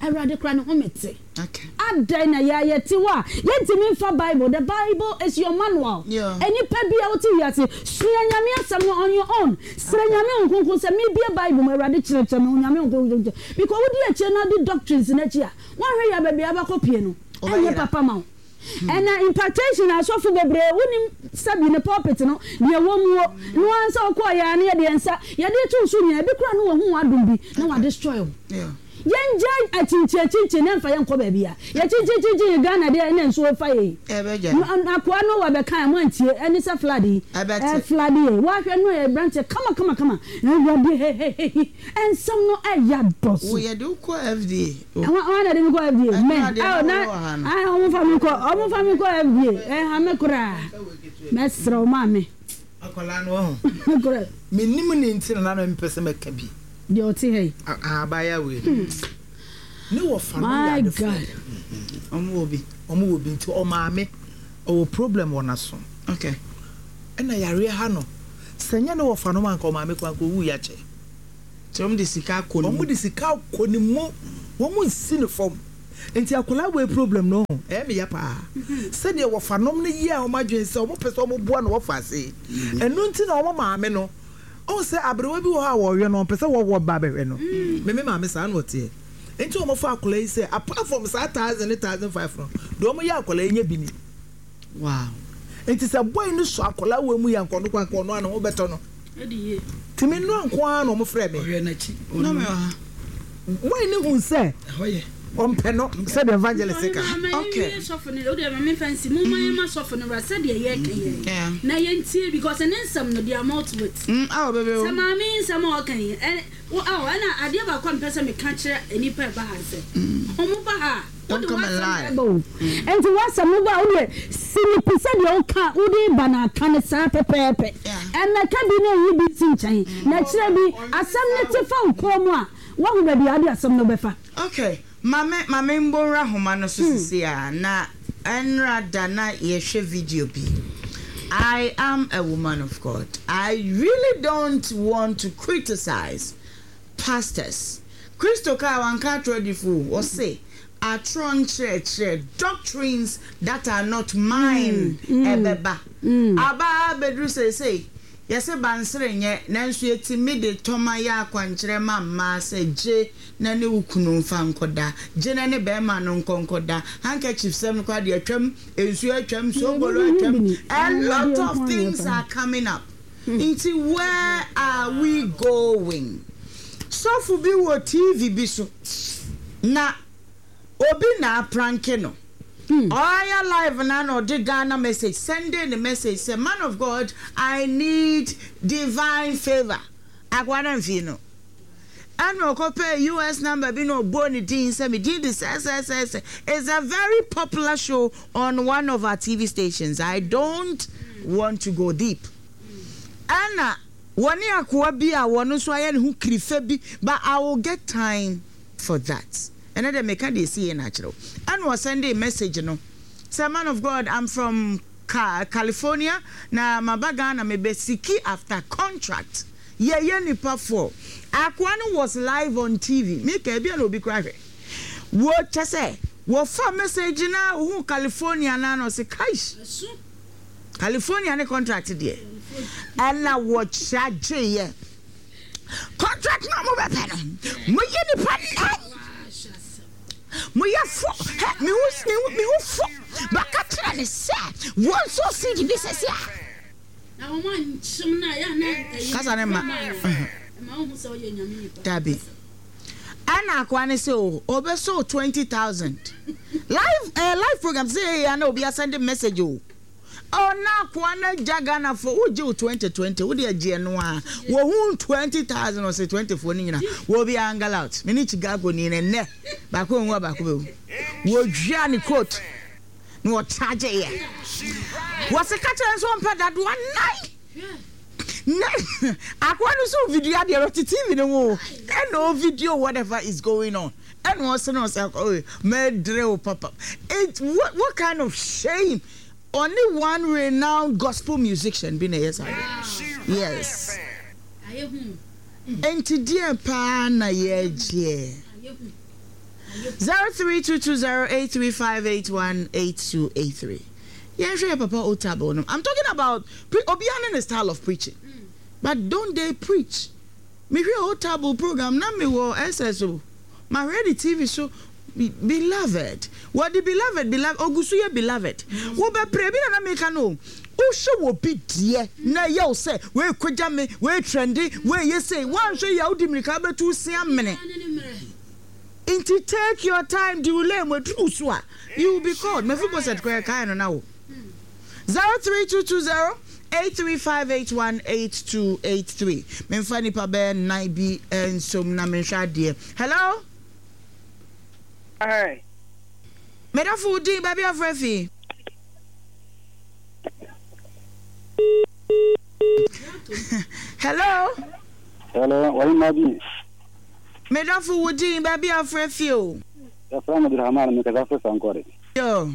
Awurade koraa ne home te. Adɛn na yɛn a yɛte hɔ a yɛntumi mfa Bible, the Bible is your manual. Nnipa bi a wote wiase, sua Nyame asɛm no on your own. Srɛ Nyame Honhom Kronkron sɛ mebue Bible mu, Awurade kyerɛkyerɛ me, Onyame Honhom Kronkron kyerɛ. Because wodi akyire na wodi doctrines no akyi a, woanhwɛ yie a baabi a wobɛkɔ pie no, ɛnyɛ papa ma wo. Ɛna impartation asɔfo bebree wonim sɛbi ne pulpit no deɛ ɛwɔ mu o no ara sɛ ɔkɔɔ yɛ a na yɛde yɛn nsa yɛde to so nyinaa ebi koraa no wahu w'adom bi na wa destroy wo yɛn gyae akyinkyin akyinkyin na ɛmfa yɛn nkɔ baabi a yɛkyinkyin kyinkyin yɛ Ghana deɛ ɛna nsuo fa yɛ yi akoa no wa bɛka a mo antie ɛne sɛ flood yi ɛ flood yɛ wahwɛ no yɛ branteɛ kama kama kama awurade hehehehi ɛnsɛm no ɛya dɔso. Wo yɛde wo kɔ FDA. Hwan na ɛde me kɔ FDA? Me. Oh, na ah, ɔmo fa me nkɔ, ɔmo fa me nkɔ FDA. Ɛha me koraa. Mɛsrɛ wo maame. Akwadaa no ɔho. Korɛ. Menim ne nti na na mempɛ sɛ mɛka bi. Deɛ ɔte ha yi. Abaayewa wei no. Ne wɔfa no yɛ adefoɔ. My God. Ɔmo wɔ bi. Ɔmo wɔ bi nti ɔmaame ɔwɔ problem wɔ n'aso. Okay. Ɛna yareɛ ha no. Sɛ nyɛ ne wɔfa no ma anka ɔmaame koraa anka owu yɛ akyɛ. Nti wɔn de sika akɔ ne mu. Wɔn de sika akɔ ne mu. Wɔn nsi no fam. Nti akwadaa wei problem no ho ɛyɛ me ya paa. Sɛdeɛ wɔfa nom no yɛɛ wɔn adwene sɛ wɔn pɛ sɛ wɔn boa no wɔfa ase yi. Ɛno nti na wɔn maame no, wohu sɛ aberewa bi wɔ hɔ a wɔhwɛ no ɔmpɛ sɛ wɔwɔ ba bɛhwɛ no. Me me maame saa na ɔteɛ. Nti wɔn fa akwadaa yi sɛ apart from saa thousand ne 1005 no, deɛ wɔn yɛ akwadaa yi nyɛ bi ni. Wow. Nti sɛ boy no sɔ akwadaa wei mu yɛ anka ɔno koraa anka ɔno ara ne ho bɛtɔ no. Nti me nnora nko ara na wɔn frɛ me. Ɔhwɛ n'akyi. Na me wɔ ha. Boy no hu sɛ ɔmpɛ no sɛdeɛ evangelist ka. Okay. Sɔfo no o deɛ maame nfa nsi mo ma yɛn ma sɔfo no wura sɛdeɛ yɛka yɛ na yɛn tie because ne nsɛm no they amount to it. Awo bebe o. Sɛ maame nsɛm a ɔka yi ɛ wo awo ɛna adeɛ baako a mpɛ sɛ meka kyerɛ nnipa ɛba ha sɛ wɔn ba ha a. Don't Wode come and w'asɛm lie. na ɛba o. Enti w'asɛm no ba a, wo deɛ si no pi sɛ deɛ woka wode reba no aka no saa pɛpɛɛpɛ. Ɛmmɛka bi na nyi bi nsi nkyɛn. Na kyerɛ bi, asɛm no te fa wo kɔn mu a, woahu baabi a wode asɛm no bɛfa. Ok, ma me ma me mbɔ nwura homa no so sisi a, na ɛnra da na yɛhwɛ video bi. I am a woman of God. I really don't want to criticize pastors. Kristo kae, wanka atorɔ adifo o, ɔse atorɔ nkyerɛkyerɛ, doctrines that are not mine, ɛbɛba. Aba ara abɛduru seesei, yɛse bansere nyɛ, nanso yɛtumi de tɔma yɛ akwankyerɛ ma mmaa sɛ gye na ne wo kunu mfa nkɔda, gye na ne barima no nkɔ nkɔda, handkerchief sɛm no koraa deɛ atwam, nsuo atwam, soobolo atwam, a lot of things are coming up. Nti where are we going? Sɔfo bi wɔ TV bi so na obi na apranke no. Ɔayɛ live no a na ɔde Ghana message sɛndee no message sɛ man of God I need divine favour. Akoa no amfii no. Ɛna ɔkɔpɛɛ US number bi na ɔbɔɔ ne din sɛ me din de sɛsɛsɛsɛ. It's a very popular show on one of our TV stations. I don't want to go deep. Ɛna wɔne akoa bi a wɔn nso ayɛ ne ho kirifa bi but I will get time for that. Ɛnɛ deɛ meka deɛ ɛsi yɛ na akyerɛ wo. Ɛna ɔsɛndee message no sɛ man of God I'm from California na maba Ghana mebɛ siki after contract. Yɛyɛ nipa foɔ. Akoa no was live on TV. Me ka ebia na obi koraa hwɛ. Wo kyɛ sɛ wɔfa message na ohuu California na na ɔse kaish. California ne contract deɛ. Ɛna wɔ charge yɛ. Contract na mo bɛpɛ no. Mo yɛ nipa nan. Mo yɛ fo. Hɛ me ho me ho fo. Baka kyerɛ ne sɛ wɔn nso seed bi sɛsi a. Kasa no mma. Dabi. Ɛna akoa no sɛ o, ɔbɛsɔ o 20,000. Live, eh, live program sɛ yɛ ya na obi asɛnde message o. Oh, na akoa no agya Ghana fo, wogye o 2020, wode agye ɛno a. Wɔhu 20,000, ɔsɛ 20 foɔ no nyina. Wɔ bi angle out. Me ne Chicago ni no nnɛ. Baako nwu a baako bɛwu. Wɔdwia ne coat. Na ɔkyagye yɛ. Wɔse ka kyerɛ no sɛ ɔmpɛ dadoa nan. Na akoa no so video adeɛ no ɔte TV no ho ɛna o video whatever is going on ɛna ɔse no ɔsɛ oh mɛdere wo papa. It what what kind of shame ɔne one renowned gospel musician bi na ɛyɛ saa adeɛ. Yes. Enti deɛ paa na yɛgyeɛ. 03220835818283 Yɛnhwɛ yɛ papa Otabil no. I'm talking about pre obiara ne ne style of preaching. But don't they preach? Mehwɛ Otabil program na mewɔ SS o. Mahwɛ ne TV so Beloved. Wɔde beloved beloved ogu so yɛ beloved. Wobɛpere ebi na na meka no o. Wohwɛ wɔ bi deɛ na ɛyɛ wo sɛ wei kogya me, wei trɛnde, wei yɛ sei. Woanhwɛ yie a wode mmirika bɛtu wo se amene. Nti take your time di wo lane mu ɛduru wo so a you will be called. Mephibosheth koraa yɛkae no na wo. 03220 83581 8283 Memfa nnipa bɛyɛ nnan bi nsom na menhwɛ adeɛ. Hello? Hi. Medafo wo din baabi afrɛ fi. Hello. Hello, wahima bi. Medafo wo din baabi afrɛ fi o. Yɛfrɛ me Abdulrahman mekasa firi Sankore. Yo.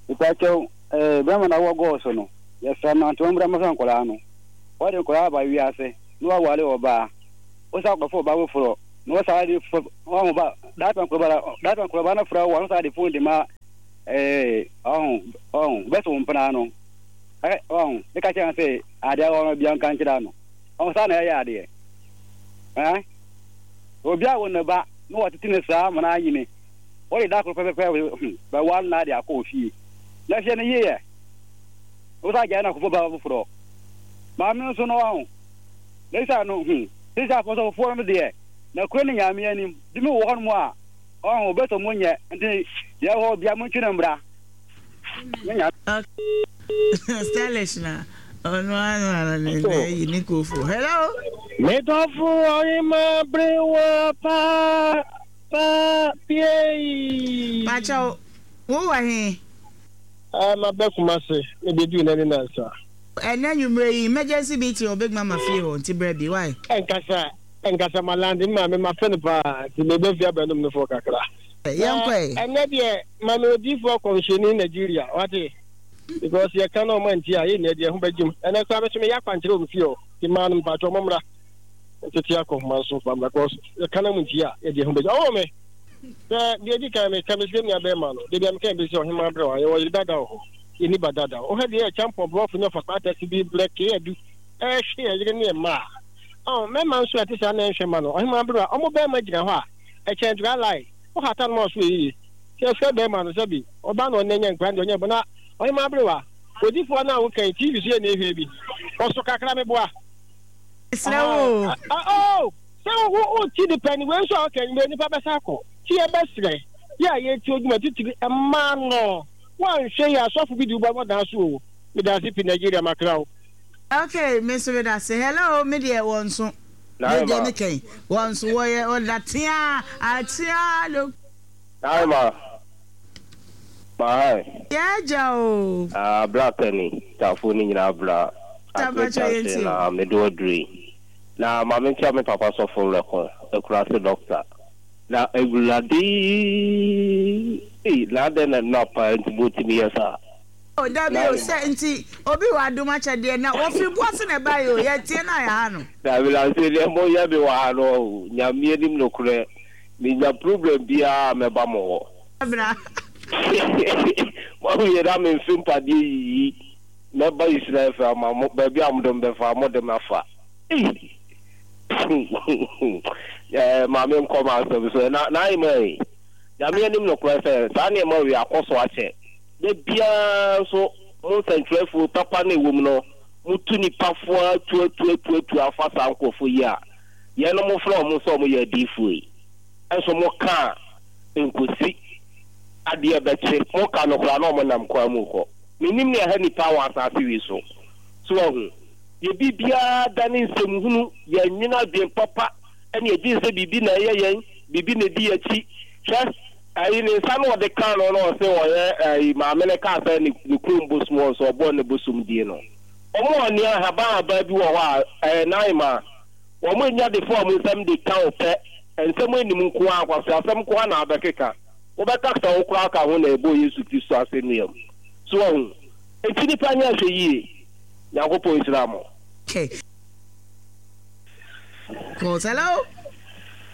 Mepakyɛw, eh, bɛrima na wɔ gɔɔ so no, yɛsrɛ no ante ɔmmra mmɛhwɛ nkwadaa no. Wɔde nkwadaa aba wiase na waware ɔbaa. Wosan akɔfa ɔbaa foforɔ na wɔsan de fo ɔho ba daapɛ nkwadaa daapɛ nkwadaa no frɛ wo a wosan de fon de ma eh, ɔho ɔho bɛsɛ wo mpena no. Ɛ ɔho ne ka kyerɛ no sɛ adeɛ a ɔno bia nka nkyerɛ no. Ɔho saa na ɛyɛ adeɛ. Ɛ obi a wo ne ba na wɔtete ne saa ma no anyini. Wɔde da koro pɛpɛpɛ hmm, bɛware no ade akɔ ofie. Na hwɛ no yie ɛ. Wosan gyae no akɔfo ba foforɔ. Maame no nso no ɔho. Na isa no hmm, sisi afɔsɔfofoɔ no deɛ, na kuro ne nyame anim. Bi mu wɔ hɔnom a, ɔho, bɛsɔ mo nyɛ, nti deɛ ɛwɔ hɔ bia montwe no mbra. Ne nyame. Stylish na ɔno ara na ne na ayi ne kofo. Hello. Medɔfo ɔhema berewa pa pa piei. Pakyɛw, wo wɔ he? Ah, maba Kumasi, mebeduu nnɛ ne nnansa. Ɛnnɛ anwummerɛ yi, emergency meeting wɔ Big Mama fie hɔ, nti brɛ bi, why? Ɛnkasa, ɛnkasa, ma lande, me maame mafɛ no paa, nti meba fie abɛnom no fɔ kakra. Yɛnkɔ ɛ. Ɛnnɛ deɛ, ma me odiyifoɔ kɔmhyɛni Nigeria, wate? Because yɛka na ɔma nti a, yɛn nyinaa deɛ ɛho bɛgyem. Ɛnnɛ koraa me nso meyɛ akwankyerɛ wɔ me fie hɔ, nti mmaa no mpakyɛw mommra ntete akɔhoma nso fa mmra, because yɛka na mo nti a, yɛde ɛho bɛgyem. Ɔwɔ me. Sɛ deɛ edi kan meka mesrɛ me nua bɛrima no, da bi a meka bɛ sɛ ɔhemaa brɛ wa, yɛwɔ yere dada wɔ hɔ, yɛnni ba dada. Wohwɛ deɛ ɛkyampɔn borɔfo ne ɔfa kpaatase bi brɛ kee adu ɛrehwe yɛn yere ne yɛn mma a, ɔn, mmarima nso a ɛte saa na ɛnhwɛ mma no, ɔhemaa brɛ wa, ɔmo bɛrima gyina hɔ a, ɛkyɛn dry lie, wohata no ma ɔso yɛ yiye. Sɛ yɛfrɛ bɛrima no sɛbi ɔba na ɔnɛ nya nkura deɛ ɔnyɛ bɔ na ɔhemaa brɛ wa, odifoɔ no a woka yi TV so yɛ na ehwɛ bi, ɔso kakra meboa. Mesrɛ wo o. Ah, oh! Sɛ wo wo ti de pɛ ni wei nso a ɔka yi nipa bɛsa akɔ ti yɛ bɛsrɛ yɛ a yɛti odwuma titiri mmaa no woanhwɛ yɛ asɔfo bi de wo bɛbɔ dan so o medase pi Nigeria makra wo. Ok me nso medase hello me deɛ wɔn nso me deɛ me kɛn wɔn nso wɔyɛ ɔda tea atea lo. Naima Mahan. Yɛ agya o. Ah bra pɛni tafo ne nyinaa bra Agric junction na mede wo aduru yi. Na ma menkyia me papa sɔfo Werɛko, Akurase doctor. Na Awurade ei na adɛn na nnora paa nti motumi yɛ saa? Oh dabi o sɛ nti obi wɔ adom akyɛdeɛ na wɔfiri boase na ɛbaeɛ o yɛteɛ no a yɛha no. Dabi na sɛ deɛ moyɛ me wɔ ha no ɔho Nyame anim nokorɛ menya problem biara a mɛba mo hɔ. Bra. Moawie na memfe mpadeɛ yiyi mɛba Israel fie ama mo baabi a mode me bɛfa mode me afa. Ei! Eh, ma menkɔ m'asɛm so. Na n'ahemmaa yi, Nyame anim nokorɛ sɛ, saa nneɛma wei akɔ so akyɛ. Da biara nso, mo nsɛntwerɛfoɔ, papa no a ɛwɔ mu no, motu nnipa fo ara tuatuatuatua fa saa nkurɔfoɔ yi a yɛnom mofrɛ wɔn sɛ wɔyɛ adiyifoɔ yi. Nso moka a, ɛnkɔsi adeɛ bɛkye. Moka no koraa na wɔnam kwan mu rekɔ. Mennim nea ɛha nnipa wɔ asase wei so. So woahu? Yɛ biribiara dane nsɛmhunu, yɛnnwene adwene papa ɛne yɛdwene sɛ biribi na ɛyɛ yɛn, biribi na ɛdi yɛn akyi. Hwɛ, ayi ne nsa na ɔde kaa no na ɔse ɔyɛ ayi maame no kaa sɛ ne ne kurom bosom wɔ nso ɔbɔɔ ne bosom din no. Wɔn a nea ahaban ahaban bi wɔ hɔ a ɛyɛ nan ma wɔn anya de fa wɔn nsam de ka wo pɛ, nsɛm anim nko ara, nkwaseasɛm nko ara na abɛkeka. Wobɛka sɛ wo koraa ka ho na ɛbɔɔ Yesu Kristo asɛnnua mu. So wahu? Enti nnipa nyɛ ahwɛyie. Nyankopɔn nhyira mo. Okay. Calls. Hello.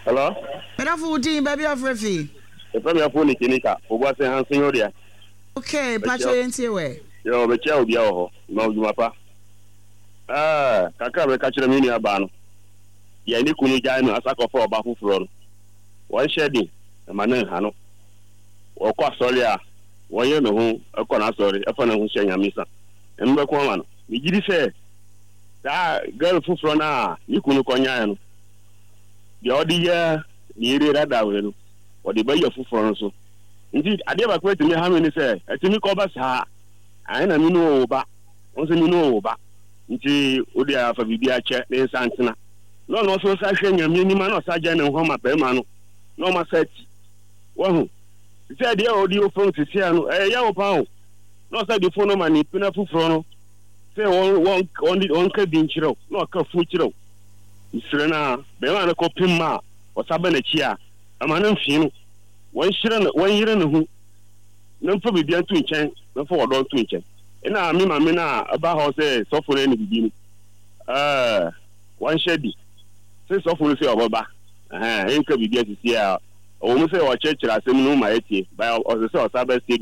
Hello. Medafo wo din baabi a wofrɛ fi. Yɛfrɛ me Afo Nikinika, Obuase ha nso nyɛ wo dea. Okay, mpakyɛw yɛntie wɛ. Yoo, mekyia obia wɔ hɔ, ma odwuma pa. Ɛɛ, kakra a mɛka kyerɛ me nua baa no, deɛ ne kunu gyae no asa kɔfa ɔba foforɔ no, wɔnhyɛ den mma no nha no. Ɔkɔ asɔre a, wɔnyere ne ho kɔ n'asɔre, ɛfa ne ho hyɛ Nyame nsa. Nyame bɛko ama no. Megyedi sɛ saa girl foforɔ no a ne kunu kɔnyaeɛ no, deɛ ɔde yɛ ne yere dada wei no, ɔde bɛyɛ foforɔ no so. Nti adeɛ baako a ɛtumi ha me ne sɛ, ɛtumi kɔba saa, ae na me ne wo ba, wo nso me ne wo ba, nti wo deɛ afa biribi akyɛ ne nsa ntena. Na ɔno nso sa hwɛ Nyame anim a na ɔsa gyae ne ho ama barima no, na ɔma sa ti. Wahu? Sɛ adeɛ a ɔde wɔ fam sesia no, ɛyɛ yaw paa o. Na ɔsa de fon no ma ne pena foforɔ no sɛ wɔn wɔn wɔn wɔnka bi nkyerɛ wo, na ɔka fo kyerɛ wo. Mesrɛ no ara, barima no kɔpem ma ɔsa ba n'akyi a, ɛma no mfee no. Wɔnhyira no, wɔnyere ne ho, na mfa biribiara nto nkyɛn, na mfa ɔdɔ nto nkyɛn. Ɛna me maame no a ɛba hɔ sɛ sɔfo no ne biribi no, ɛɛ, wɔnhyɛ di sɛ sɔfo no sɛ ɔbɛba, ɛhɛn, ɛnka biribi asisi a, ɛwɔ mu sɛ ɔkyerɛkyerɛ asɛm no mu ma yɛtie, ba ɔsɛ sɛ ɔsa ba studio.